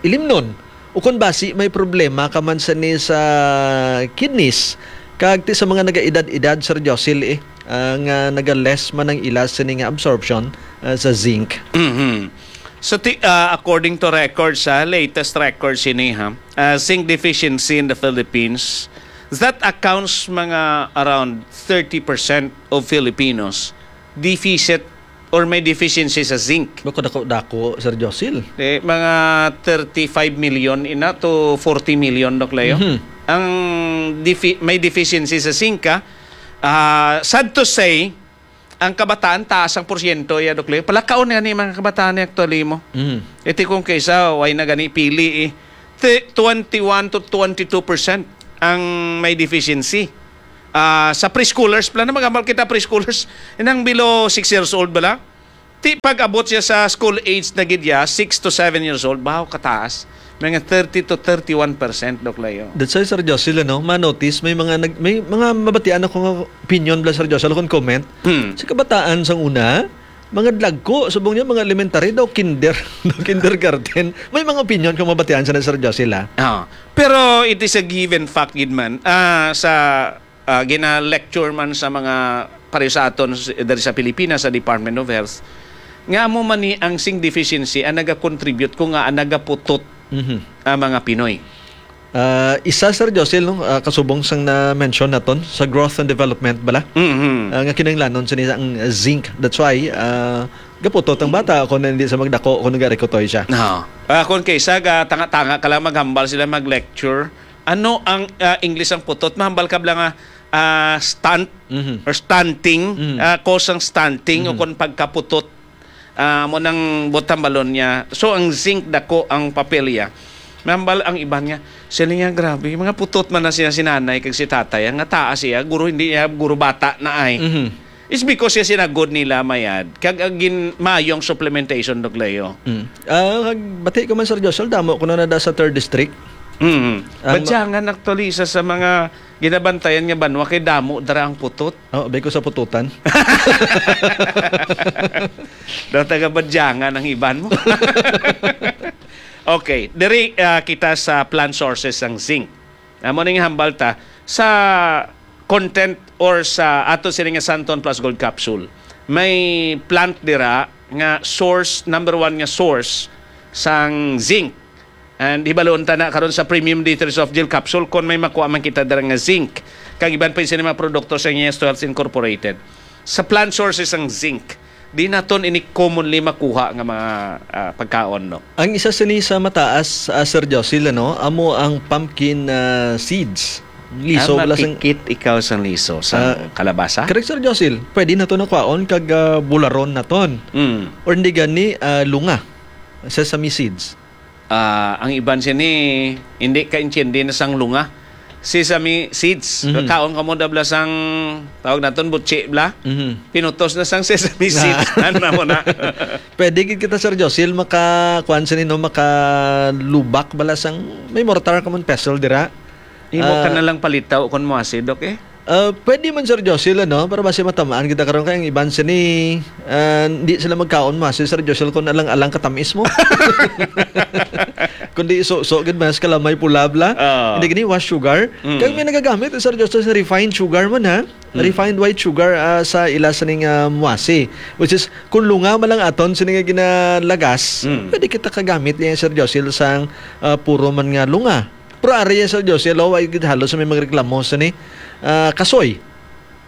ilimnon, o kung basi may problema ka man sini sa kidneys, kag ti sa mga nagaedad-edad, Sir Josil, eh, ah, nga naga-less man ang ila sini nga absorption, ah, sa zinc. Mhm. So, ti-, ah, according to records, ah, latest records ini, ha, ah, zinc deficiency in the Philippines, that accounts mga around thirty percent of Filipinos deficit or may deficiency sa zinc. Bako dako-dako, Sir Josil. Eh, mga thirty-five million ina to forty million, Doc Leo. Mhm. Ang defi-, may deficiency sa zinc, ah, ah, sad to say, ang kabataan, taas ang porsyento, ya, Doc Leo. Palakaon nga ni mga kabataan ni actually mo. Mm. Iti kung kaysa, way na gani pili, eh. Ti-, twenty-one to twenty-two percent ang may deficiency. Ah, sa preschoolers, pala na mag-amal kita preschoolers. Inang below six years old bala? Ti pag-abot siya sa school age na gid ya, six to seven years old, bahaw kataas. Mga thirty to thirty-one percent, Doc Leo. That's why, Sir Jocelyn, no, ma-notice, may mga nag-, may mga mabatian ako nga opinion bala, Sir Jocelyn, kung comment. Hmm. Sa kabataan sang una, Mga dlagko, subong niya, mga elementary daw, kinder, daw kindergarten. May mga opinion kung mabatian sa na, Sir Josil, ah. Ah, pero it is a given fact gid man, ah, sa, ah, gina-lecture man sa mga pareho sa aton s-, diri sa Pilipinas, sa Department of Health, nga amo man ni ang zinc deficiency ang nagakontribute ko nga ang nagaputot Mhm. ang mga Pinoy. Ah, isa, Sir Josil, no, ah, kasubong sang na-mention naton sa growth and development bala, Mhm. ah, nga kinahanglanon sini ang zinc. That's why, ah, gaputot ang bata kung hindi sa magdako, kung nagarikotoy siya. No. Ah, kung kaysa ga tanga-tanga ka lang maghambal sila mag-lecture, ano ang, ah, English ang putot? Mahambal ka bala nga, ah, stunt Mhm. or stunting, Mhm. ah, cause ang stunting o Mhm. kung pagkaputot. Ah, mo nang butang balon niya. So, ang zinc dako ang papel niya. Mahambal ang iban nga, sila niya, "Grabe, mga putot man na siya si nanay kag si tatay, ang nga taas siya, guro hindi niya, guro bata na ay." Mhm. It's because siya sinagod nila mayad. Kag ang gin-, maayong supplementation, Doc Leo. Mm. Ah, kag bati ko man, Sir Joshua, damo ko na nada sa third district. Mm. Ang ma- Badyangan actually, isa sa mga ginabantayan nga banwa kay damo dara ang putot. Oh, abay ko sa pututan. Daw taga Badyangan ang iban mo. Okay, diri, ah, kita sa plant sources sang zinc. Amo ning hambal ta sa content or sa ato sini nga Santon Plus Gold Capsule. May plant dira nga source, number one nga source sang zinc. And hibalon ta na karon sa premium D three soft gel capsule kung may makuha man kita dira nga zinc. Kag iban pa sini mga produkto sa Yes to Health Incorporated. Sa plant sources ang zinc, di naton ini commonly makuha nga mga, ah, pagkaon, no? Ang isa sini sa mataas, ah, Sir Josil, ano, amo ang pumpkin, ah, seeds. Liso Ah, bala sang makikit ikaw sang liso sa Ah, kalabasa? Correct, Sir Josil. Pwede naton na kwaon kag, ah, bularon naton. Mm. Or hindi gani, ah, lunga. Sesame seeds. Ah, ang iban sini, hindi ka intindi na sang lunga. Sesame seeds. Mhm. Kaon ka mo da bala sang, tawag naton, butsi bala. Mhm. Pinutos na sang sesame seeds. Ano mo na? Pwede gid kita, Sir Josil, maka, kuwan sini, no, makalubak bala sang, may mortar ka man pestle dira. Imo ka Ah. na lang palitaw kon mo asid, okay? Ah, pwede man, Sir Josil, ano, para basi matamaan kita karon kay ang iban sini, ah, di sila magkaon mo asid, Sir Josil, kung alang-alang katamis mo. Kundi iso-so gid mas kalamay pula bala. Ah. Hindi gini was sugar. Mm. Kag may nagagamit, Sir Josil, sa refined sugar man, ha? Mm. Refined white sugar, ah, sa ila sining, ah, muasi. Which is, kung lunga man lang aton sini nga ginalagas, Mm. pwede kita kagamit niya, Sir Josil, sang, ah, puro man nga lunga. Pero ari, Sir Josil, oh, ay gid halos may magreklamo sini, ah, kasoy.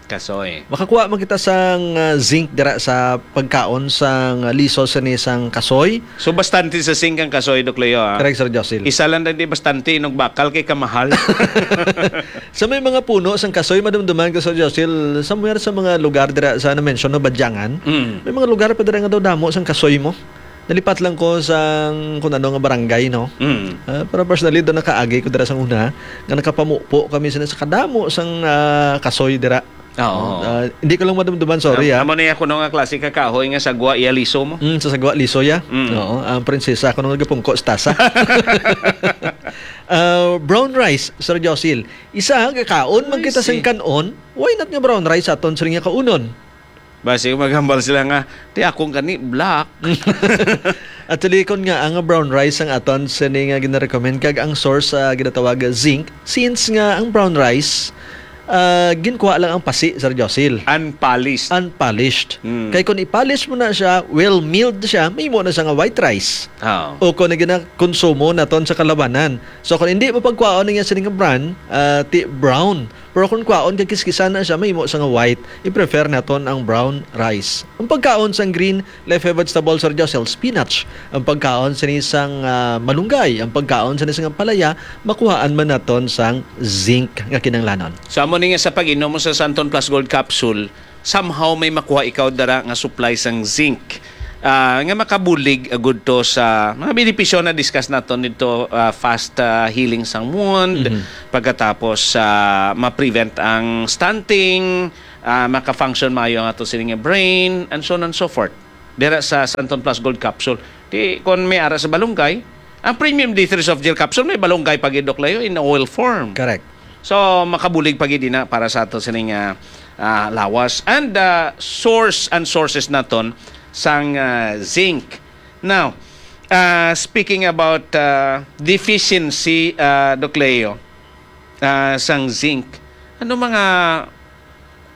Kasoy. Makakuha man kita sang, ah, zinc dira sa pagkaon sang, ah, liso sini sang kasoy. So, bastante sa zinc ang kasoy, Doc Leo, ah. Correct, Sir Josil. Isa lang na di bastante, inog bakal kay kamahal. Sa may mga puno sang kasoy, madumduman ko, Sir Josil, somewhere sa mga lugar dira sa na-mention, no, Badyangan, Mm. may mga lugar pa dira nga daw damo sang kasoy mo. Nalipat lang ko sang kung ano nga barangay, no? Mm. Ah, pero personally, doon nakaagi ko dira sang una, nga nakapamupo kami sa, sa kadamo sang, ah, kasoy dira. Oo. Ah, hindi ko lang madumduman, sorry, Am-, ah. Amo na yung kuno nga klase ka kahoy nga sagwa iya liso mo. Mm, sa sagwa liso ya. Mm. Oo, ang prinsesa ko nung nagapungko sa tasa. Ah, brown rice, Sir Josil. Isa, gakaon man Ay, kita sang si kanon. Why not nga brown rice aton sa nga kaunon? Basi maghambal sila nga, "Ti akong gani, black." Actually, kon nga ang brown rice ang aton sini nga ginarecommend kag ang source sa ginatawag zinc, since nga ang brown rice, ah, ginkuha lang ang pasi, Sir Josil. Unpolished. Unpolished. Mm. Kay kung i-polish mo na siya, well milled siya, may mo na siya nga white rice. Oo. O kung na ginakonsumo naton sa kalabanan. So kung hindi mo pagkuhaon niya sini nga brand, ah, ti brown. Pero kung kwaon kag kiskisan na siya, mahimo sa nga white, i-prefer naton ang brown rice. Ang pagkaon sang green leafy vegetable, Sir Josel, spinach. Ang pagkaon sini sang, ah, malunggay, ang pagkaon sini sang palaya, makuhaan man naton sang zinc nga kinahanglanon. So, amo ni nga sa pag-inom mo sa Santon Plus Gold Capsule, somehow may makuha ikaw dara nga supply sang zinc, ah, nga makabulig, ah, gud to sa mga benepisyo na discuss naton dito, ah, fast, ah, healing sang wound, Mhm. pagkatapos, ah, ma-prevent ang stunting, ah, maka-function maayo ang ato sining nga brain, and so on and so forth. Dira sa Santon Plus Gold Capsule. Di, kung may ara sa balunggay, ang premium D three soft gel capsule, may balunggay pa gid, Doc Leo, in oil form. Correct. So, makabulig pa gid na para sa ato sining, ah, ah, lawas. And, ah, source and sources naton, sang, ah, zinc. Now, ah, speaking about, ah, deficiency, ah, Doc Leo, ah, sang zinc, ano mga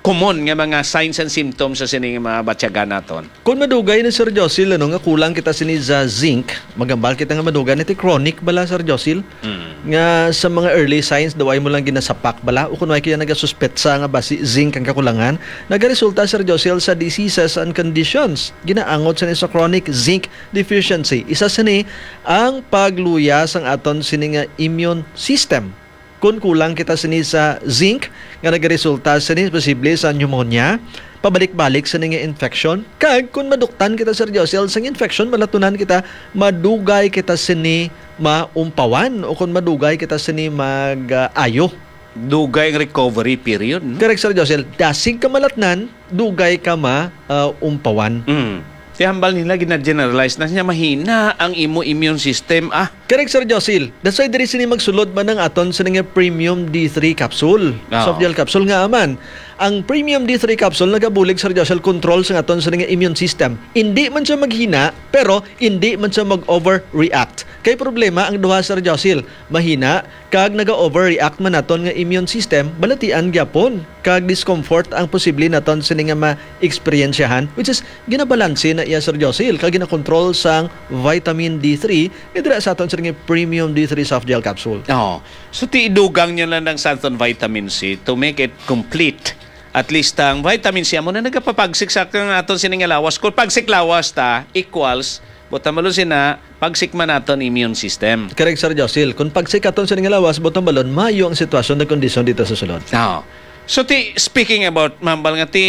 common nga mga signs and symptoms sa sining mga batyagan naton? Kung madugay na, Sir Josil, ano, nga kulang kita sini sa zinc, magambal kita nga madugay na ti chronic bala, Sir Josil, Mm. nga sa mga early signs, daw ay mo lang ginasapak bala, o kung may kaya nagasuspetsa nga basi zinc ang kakulangan, nagaresulta, Sir Josil, sa diseases and conditions. Ginaangot sini sa chronic zinc deficiency. Isa sini ang pagluya sang aton sini nga immune system. Kun kulang kita sini sa zinc nga nagaresulta sini posible sa pneumonia, pabalik-balik sini nga infection, kag kun maduktan kita, Sir Josel, sang infection, malatunan kita, madugay kita sini maumpawan o kun madugay kita sini mag-ayo. Dugay ang recovery period, no? Correct, Sir Josel. Dasig ka malatnan, dugay ka ma, ah, umpawan. Mm. Ti hambal nila, gina-generalize na niya, mahina ang imo immune system, ah. Correct, Sir Josil. That's why diri sini magsulod man ang aton sini nga premium D three capsule. Oo. Soft gel capsule nga man. Ang premium D three capsule nagabulig, Sir Josil, control sa aton sini nga immune system. Hindi man siya maghina, pero hindi man siya mag-overreact. Kay problema ang duha, Sir Josil. Mahina, kag naga-overreact man naton nga immune system, balatian gyapon kag discomfort ang posible naton sini nga ma-eksperyensyahan, which is ginabalanse na iya, Sir Josil, kag ginakontrol sang vitamin D three nga dira sa aton sini nga premium D three soft gel capsule. Oo. So, ti idugang niyo lang ang Santon Vitamin C to make it complete. At least ang vitamin C amo na nagapapagsik sa kang aton sini nga lawas. Kung pagsik lawas ta equals, buot hambalon sina, pagsik man naton immune system. Correct, Sir Josil. Kung pagsik aton sini nga lawas, buot hambalon, maayo ang sitwasyon na kondisyon dito sa sulod. Oo. So, ti, speaking about, mambal nga ti,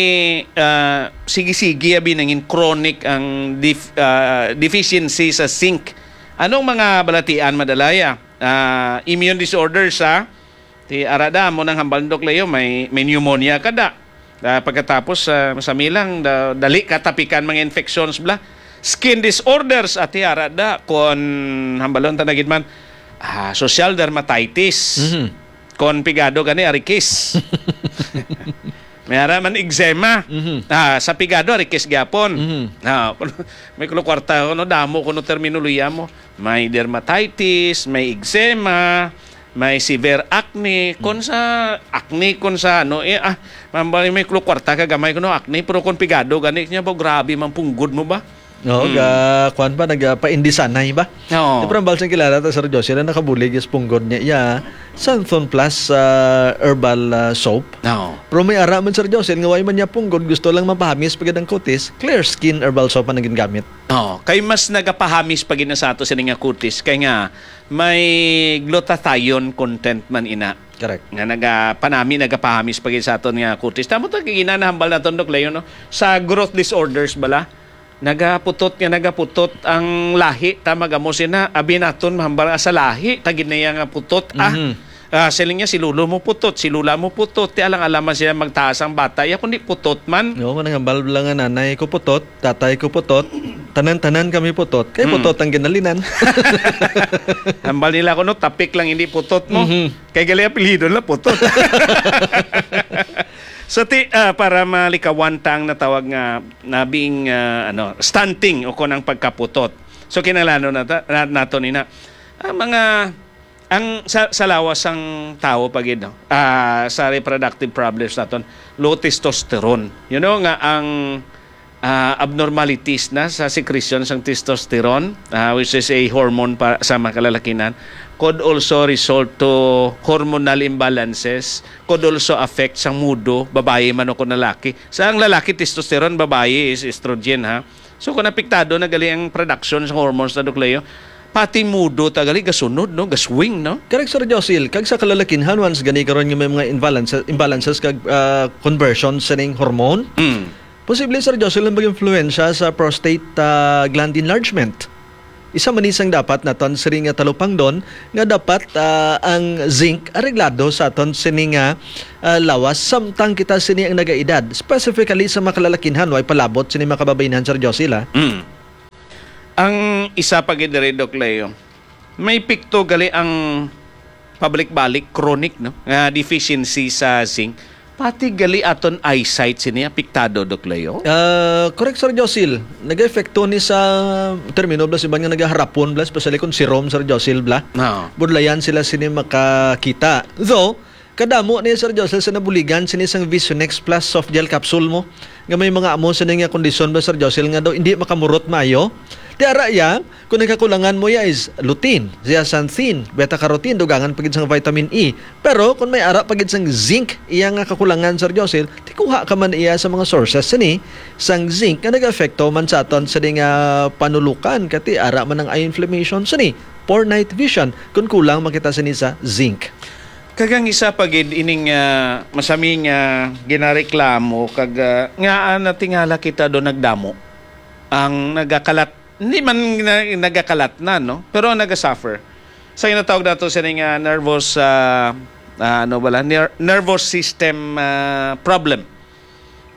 ah, sige-sige abi nangin chronic ang def-, ah, deficiency sa zinc. Anong mga balatian madalaya? Ah, immune disorders, ha? Ti ara da, mo nang hambal, Doc Leo, may, may pneumonia ka da. Ah, pagkatapos, ah, sa milang, da-, dali ka tapikan mga infections bla. Skin disorders, ati ara da, kon hambalon ta na gid man, ah, social dermatitis. Mhm. Kon pigado gani, arikis. May ara man eczema. Mhm. Ah, sa pigado, arikis gyapon. Mhm. Ah, may kuno kwarta, kuno damo, kuno terminolohiya mo. May dermatitis, may eczema, may severe acne, kon sa acne, kon sa ano, eh, ah, mambali may klo-, kwarta ka gamay kuno acne, pero kon pigado gani niya ba, grabe man punggod mo ba? Oo, Mm. ga-, kwan ba, nagpaindisanay ba? Oo. Di, pero ang balsang kilala ta, Sir Jose, na nakabulig is punggod niya, iya, Santhon Plus, ah, herbal, ah, soap. Oo. Pero may ara man, Sir Jose, nga way man niya punggod, gusto lang mapahamis pagid ang kutis, Clear Skin herbal soap ang naging gamit. Oo, kay mas nagapahamis pa gid na sa ato sini nga kutis, kay nga may glutathione content man ina. Correct. Nga nagapanami, nagapahamis pa gid sa aton nga kutis. Tamo ta gina nahambal naton, Doc Leo, no? Sa growth disorders bala, nagaputot nga nagaputot ang lahi, ta magamo sina, abi naton mahambal nga sa lahi ta gid na iya nga putot, ah. Mhm. Ah, siling niya, si lolo mo putot, si lola mo putot, ti alang-alang man sila magtaas ang bata. Iya kundi putot man. Oo, manang hambal lang nga nanay ko putot, tatay ko putot, tanan-tanan kami putot. Kay Mm. putot ang ginalinan. Hambal nila ko, no, tapik lang hindi putot mo. Mhm. Kay gali apelyido nila putot. So, ti, ah, para malikawan ta ang natawag nga nabing, ah, ano, stunting o kon ang pagkaputot. So, kinahanglan na ta-, na, nato ni na, ah, mga, ang sa, sa lawas sang tawo pa gid, no? Ah, sa reproductive problems naton, low testosterone. You know nga ang, ah, abnormalities na sa secretion sang testosterone, ah, which is a hormone pa, sa mga kalalakinan, could also result to hormonal imbalances, could also affect sang mudo, babayi man o kung lalaki. Sa ang lalaki, testosterone, babayi is estrogen, ha? So, kung apektado na gali ang production sa hormones na, Doc Leo, pati mudo ta gali gasunod, no? Gaswing, no? Correct, Sir Josil. Kag sa kalalakinhan, once gani karon nga may mga imbalances, imbalances kag, ah, conversion sa ning hormone, Mm. posible, Sir Josil, ang mag-influensya sa prostate, ah, gland enlargement. Isa man ni sang dapat naton sini nga talupangdon nga dapat, ah, ang zinc areglado sa aton sini nga, ah, lawas samtang kita sini ang nagaedad, specifically sa mga kalalakinhan, way palabot sini mga kababaynhan, Sir Josil, ah. Mm. Ang isa pa gid diri, Doc Leo, may epekto gali ang pabalik-balik, chronic, no, nga deficiency sa zinc. Pati gali aton eyesight sini apektado, Doc Leo? Ah, correct, Sir Josil. Nag-epekto ni sa termino bla sa iban nga nagaharapon bla, especially kung serum, Sir Josil bla. Ah. Budlayan sila sini makakita. Though, kadamo ni, Sir Josil, sa nabuligan sini sang Visionex Plus soft gel capsule mo, nga may mga amo sini nga kondisyon ba, Sir Josil, nga daw hindi makamurot maayo. Ti ara iya, kung nagkakulangan mo iya is lutein, zeaxanthin, beta carotene, dugangan pa gid sang vitamin E. Pero kung may ara pa gid sang zinc, iya nga kakulangan, Sir Josil, ti kuha ka man iya sa mga sources sini sang zinc nga nag-epekto man sa aton sini nga panulukan, kati ara man ang eye inflammation sini, poor night vision, kung kulang man kita sini sa zinc. Kag ang isa pa gid ining, ah, masami nga ginareklamo kag, ah, ngaa natingala kita do nagdamo ang nagakalat, hindi man na, nagakalat na, no? Pero ang nagasuffer sa ginatawag nato sini nga nervous, ah, ah, ano bala, ner-, nervous system, ah, problem.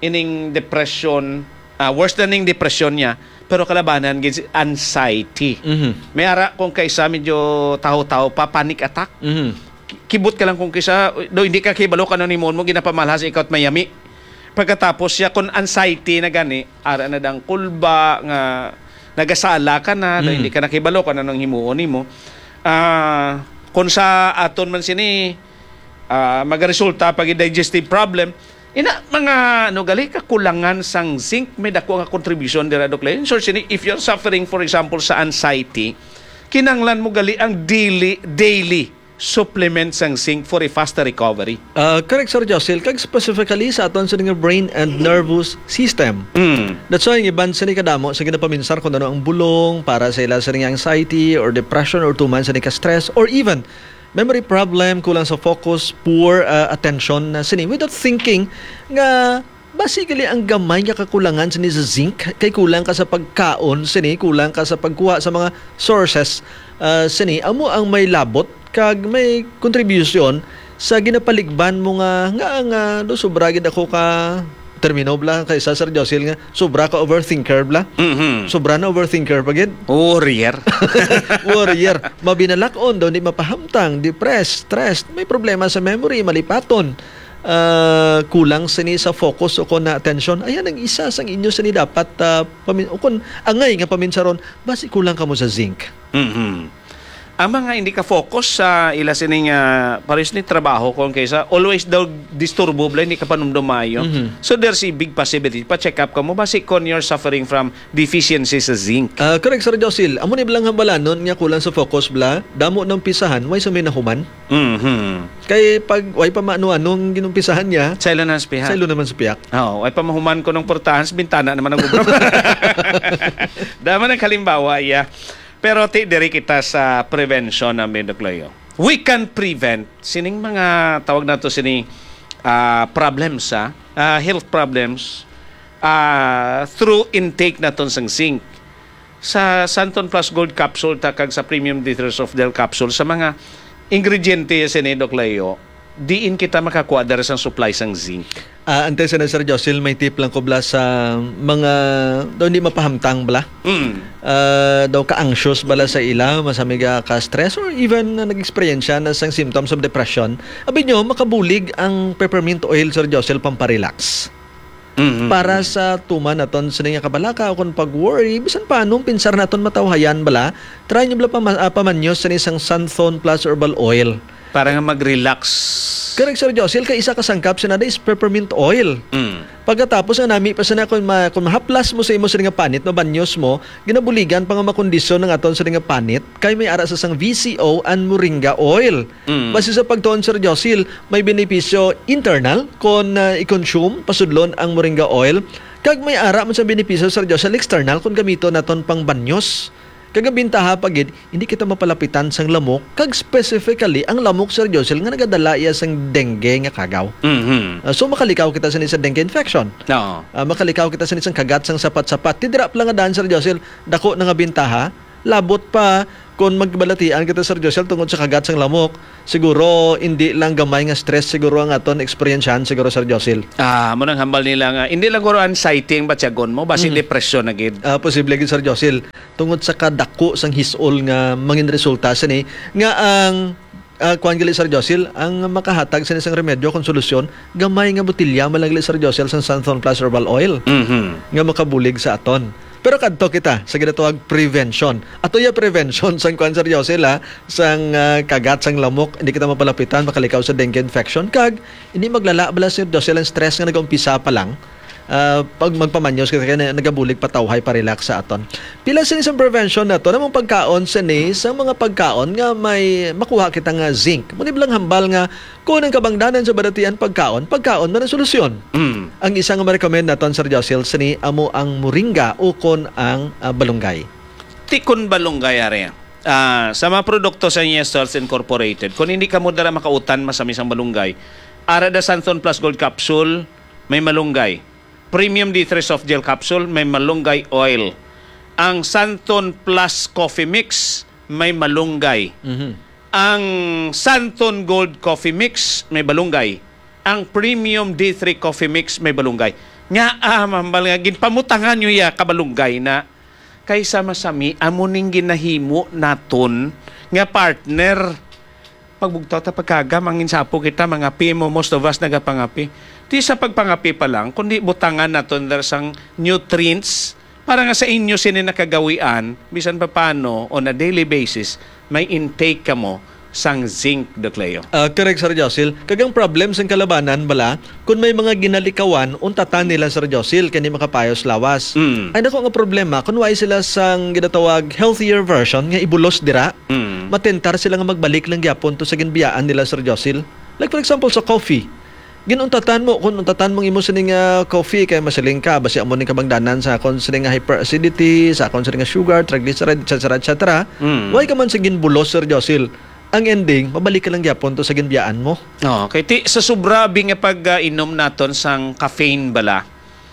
Ining depression, ah, worse na ning depression niya, pero kalabanan gid si anxiety. Mhm. May ara kung kaisa medyo taho-taho pa, panic attack. Mhm. Ki-, kibot ka lang kung kisa, do hindi ka kibalo kung ano himuon mo, ginapamalha sa ikaw at mayami. Pagkatapos siya, kung anxiety na gani, ara na dang kulba, nga nagasala ka na, do Mm. hindi ka nakibalo kung anong himuon nimo. Ah, kung sa aton man sini, ah, magaresulta pag digestive problem, ina, mga, ano, gali, kakulangan sang zinc, may dako nga contribution dira, Doc Leo. So, sini, if you're suffering, for example, sa anxiety, kinanglan mo gali ang daily, daily supplement sang zinc for a faster recovery. Ah, correct, Sir Josil. Kag specifically sa aton sa nga brain and nervous system. Mm. That's why ang iban sini kadamo sa ginapaminsar kung ano ang bulong para sa ila sa nga anxiety or depression or tuman sa ka stress or even memory problem, kulang sa focus, poor, ah, attention na sini. Without thinking nga basi gali ang gamay nga kakulangan sini sa zinc, kay kulang ka sa pagkaon sini, kulang ka sa pagkuha sa mga sources, ah, sini, amo ang may labot kag may contribution sa ginapaligban mo nga, nga, nga, do, sobra gid ako ka, termino bla, kay sa Sir Josil nga, sobra ka overthinker bla. Mhm. Sobra na overthinker pa gid. Warrior. Warrior. Mabinalak-on daw, di mapahamtang, depressed, stressed, may problema sa memory, malipaton, ah, kulang sini sa focus o kon na atensyon. Ayan ang isa sang inyo sini dapat, ah, pamin-, o kon angay nga paminsaron, basi kulang kamo sa zinc. Mhm. Ang mga hindi ka focus sa ila sining, ah, pares ni trabaho, kung kaysa always daw disturbo bla, hindi ka panumdum maayo. Mhm. So there's a big possibility pa check up ka mo basi kung you're suffering from deficiency sa zinc. Ah, correct, Sir Josil. Amo ni blang hambalanon nga kulang sa focus bla, damo nang pisahan, way sa may nahuman. Mhm. Kay pag way pa maano-ano ang ginumpisahan niya, Saylo na sa pihak. Saylo naman sa pihak. Oo, way pa mahuman ko ng portahan sa bintana naman ang ubra. Dama ng kalimbawa, iya. Pero ti diri kita sa prevention namin, Doc Leo. We can prevent sining mga tawag nato sini, ah, problems, ah, ah, health problems, ah, through intake naton sang zinc. Sa Santon Plus Gold Capsule ta kag sa Premium Detox of Del Capsule, sa mga ingrediente sini, Doc Leo, diin kita makakuha diri sang supply sang zinc. Ah, antes na, Sir Josil, may tip lang ko bala sa mga daw hindi mapahamtang bala. Mm. Ah, daw ka-anxious bala sa ila, masamig ka stress or even na nag-experience na sang symptoms of depression. Abi nyo, makabulig ang peppermint oil, Sir Josil, pamparelax. Mm-hmm. Para sa tuman naton sini nga kabalaka o kung pag-worry, bisan pa anong pinsar naton matawhayan bala, try nyo bala pama-, ah, pamanyos sini sang Santhon Plus Herbal Oil. Para nga mag-relax. Correct, Sir Josil, kay isa ka sangkap sina is peppermint oil. Mm. Pagkatapos nga nami pa sina kung ma-, kung mahaplas mo sa imo sini nga panit, mabanyos mo, ginabuligan pa nga makondisyon ang aton sini nga panit, kay may ara sa sang V C O and moringa oil. Mm. Base sa pagtuon, Sir Josil, may benepisyo internal kon, ah, i-consume, pasudlon ang moringa oil. Kag may ara man sa benepisyo, Sir Josil, external kon gamiton naton pang banyos. Kag ang bintaha pa gid, hindi kita mapalapitan sang lamok, kag specifically ang lamok, Sir Josil, nga nagadala iya sang dengue nga kagaw. Mhm. Ah, so makalikaw kita sini sa dengue infection. Oo. Ah, makalikaw kita sini sang kagat sang sapat-sapat. Ti dira pa lang nga daan, Sir Josil, dako na nga bintaha. Labot pa kon magbalatian kita, Sir Josel, tungod sa kagat sang lamok. Siguro, hindi lang gamay nga stress siguro ang aton eksperyensyahan siguro, Sir Josil. Ah, mo nang hambal nila nga, hindi lang guro anxiety ang batyagon mo, basi Mhm. depresyon na gid. Ah, posible gid, Sir Josil. Tungod sa kadako sang hisol nga mangin resulta sini, nga ang Ah, kuwan gali, Sir Josil, ang makahatag sa isang remedyo kung solusyon, gamay nga botilya man lang gali, Sir Josil, sang Santhon Plus Herbal Oil Mhm. nga makabulig sa aton. Pero kadto kita sa ginatawag prevention. Ato ya prevention sang kuwan, Sir Josil, ha, sang, ah, kagat, sang lamok, hindi kita mapalapitan, makalikaw sa dengue infection. Kag, hindi maglala bala, Sir Josil, ang stress nga nag-umpisa pa lang. Ah, pag magpamanyos kita, kaya na-, nagabulig patawhay, pa-relax sa aton. Pila sini sang prevention nato? Namang pagkaon sini sa mga pagkaon nga may makuha kita nga zinc. Mao ni bala ang hambal nga kung ang kabangdanan sa balatian pagkaon, pagkaon man ang solusyon. Mm. Ang isa nga ma-recommend naton, Sir Josil, sini amo ang moringa ukon ang, ah, balunggay. Ti kon balunggay, ari. Ah, sa mga produkto sa Yes Health Incorporated, kung hindi kamo dara makautan masami sang balunggay, ara da Santhon Plus Gold Capsule, may malunggay. Premium D three Soft Gel Capsule, may malunggay oil. Ang Santhon Plus Coffee Mix, may malunggay. Mhm. Ang Santhon Gold Coffee Mix, may balunggay. Ang Premium D three Coffee Mix, may balunggay. Nga, ah, hambal nga, ginpamutangan nyo ya kabalunggay na kaysa masami, amo ning ginahimo naton nga partner. Pagbugtaw ta pagkagam, ang insapo kita, mangapi mo, most of us nagapangapi. Ti sa pagpangapi pa lang, kundi butangan naton dira sang nutrients para nga sa inyo sini nakagawian, bisan pa paano, on a daily basis, may intake kamo sang zinc, Doc Leo. Ah, correct, Sir Josil. Kag ang problem sang kalabanan bala, kung may mga ginalikawan, untatan nila, Sir Josil, kay hindi makapayos lawas. Mm. Ay, nako nga problema, kung way sila sang ginatawag healthier version, nga ibulos dira, Mm. matentar sila nga magbalik lang gyapon to sa ginbiyaan nila, Sir Josil. Like, for example, sa coffee. Ginuntatan mo, kung untatan mong imo sini nga coffee, kay masiling ka, basi amo ning kabangdanan sa akon sini nga hyperacidity, sa akon sini nga sugar, triglyceride, et cetera, et cetera. Mm. Way ka man sa ginbulos, Sir Josil. Ang ending, mabalik ka lang gyapon to sa ginbiyaan mo. Oh, kay ti, sa sobra bi nga pag, ah, inom naton sang caffeine bala,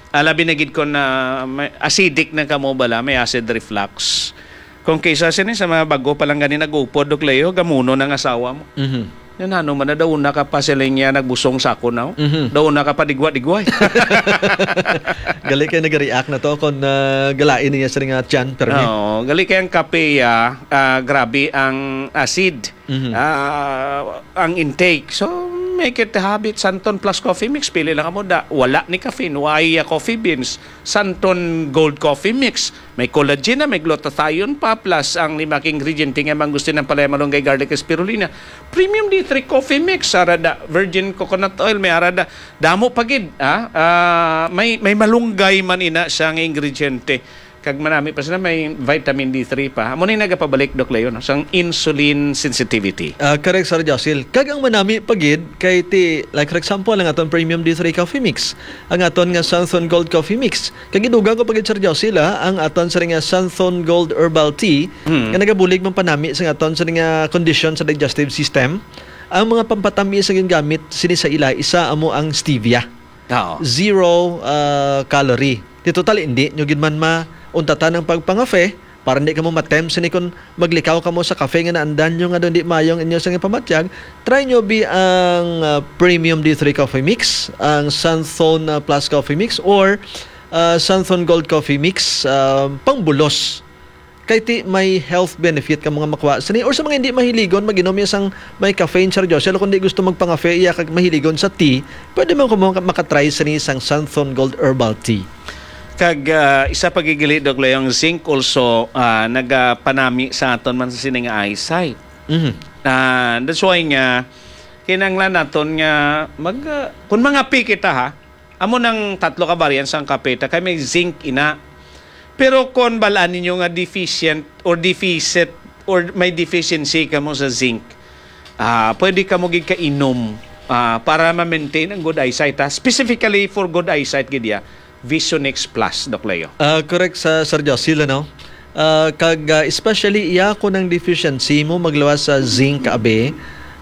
ah, labi na gid kon, ah, may acidic na kamo bala, may acid reflux. Kung kaysa sini sa mga bago pa lang gani nag-upod, Doc Leo, gamuno ang asawa mo. Mhm. Yan, ano man na, daw na ka pa sila niya nagbusong sa ako na, oh. Mhm. Daw na ka pa digwa-digway. Gali kay nag-react na to kung, ah, galain niya sa nga tiyan, permi. Oo, gali kay ang kape, ah, ah, grabe ang acid. Mhm. Ah, ang intake. So, make it a habit. Santon Plus Coffee Mix, pili lang mo da. Wala ni caffeine, wala ya coffee beans. Santon Gold Coffee Mix. May collagen na, may glutathione pa, plus ang lima ka ingrediente nga mangustin, ang palaya, malunggay, garlic, spirulina. Premium D three Coffee Mix, ara da virgin coconut oil, may ara da, damo pa gid, ah, ah, may, may malunggay man ina siya nga ingrediente. Kag manami pa sila, may vitamin D three pa. Amo ni nagapabalik, Doc Leo, no, sang insulin sensitivity. Ah, correct, Sir Josil. Kag ang manami pa gid kay ti, like, for example, ang aton premium D three coffee mix, ang aton nga Santhon Gold Coffee Mix. Kag gidugang ko pa gid, Sir Josil, ah, ang aton sini nga Santhon Gold Herbal Tea, Mm. nga nagabulig man panami sa aton sini nga kondisyon sa digestive system. Ang mga pampatamis nga gingamit sini sa ila, isa amo ang stevia. Oo. Zero, ah, calorie. Di total, hindi nyo gid man mauntatan ang pagpangafe para hindi kamo matempt sini kung maglikaw kamo sa kafe nga naandan nyo nga daw hindi mayo ang inyo sang ipamatyag. Try nyo bi ang, ah, Premium D three Coffee Mix, ang Santhon, ah, Plus Coffee Mix, or, ah, Santhon Gold Coffee Mix, ah, pangbulos. Kay ti may health benefit ka mga makuha sini. Or sa mga hindi mahiligon mag-inom iya sang may caffeine, Sir Joshua, kung di gusto magpangafe iya kag mahiligon sa tea, pwede man ko maka-, makatry sini sang Santhon Gold Herbal Tea. Kag, ah, isa pa gid gali, Doc Leo, ang zinc also, ah, nagapanami sa aton man sa sining eyesight. Mhm. Ah, that's why nga kinahanglan naton nga mag, ah, kung mangape kita, ha, amo nang tatlo ka variants sang kape ta kay may zinc ina. Pero kung balaan ninyo nga deficient or deficit or may deficiency kamo sa zinc, ah, pwede kamo gid kainom, ah, para ma-maintain ang good eyesight, ha? Specifically for good eyesight gid ya, Vision X Plus, Doc Leo. Ah, correct sa Sir Josil, ano? Ah, kag, ah, especially iya kung ang deficiency mo magluwas sa zinc, abi,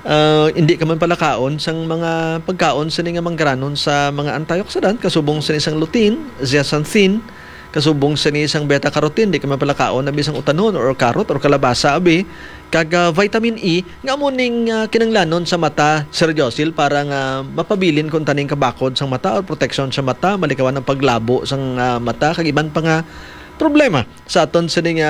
ah, hindi ka man palakaon sang mga pagkaon sini nga manggaranon sa mga antioxidant, kasubong sini sang lutein, zeaxanthin, kasubong sini sang beta carotene, di ka man palakaon abi sang utanon or carrot or kalabasa, abi, kag, ah, vitamin E, nga amo ning, ah, kinanglanon sa mata, Sir Josil, para nga mapabilin kung taning kabakod sang mata or proteksyon sa mata, malikawan ang paglabo sang, ah, mata, kag iban pa nga problema sa aton sini nga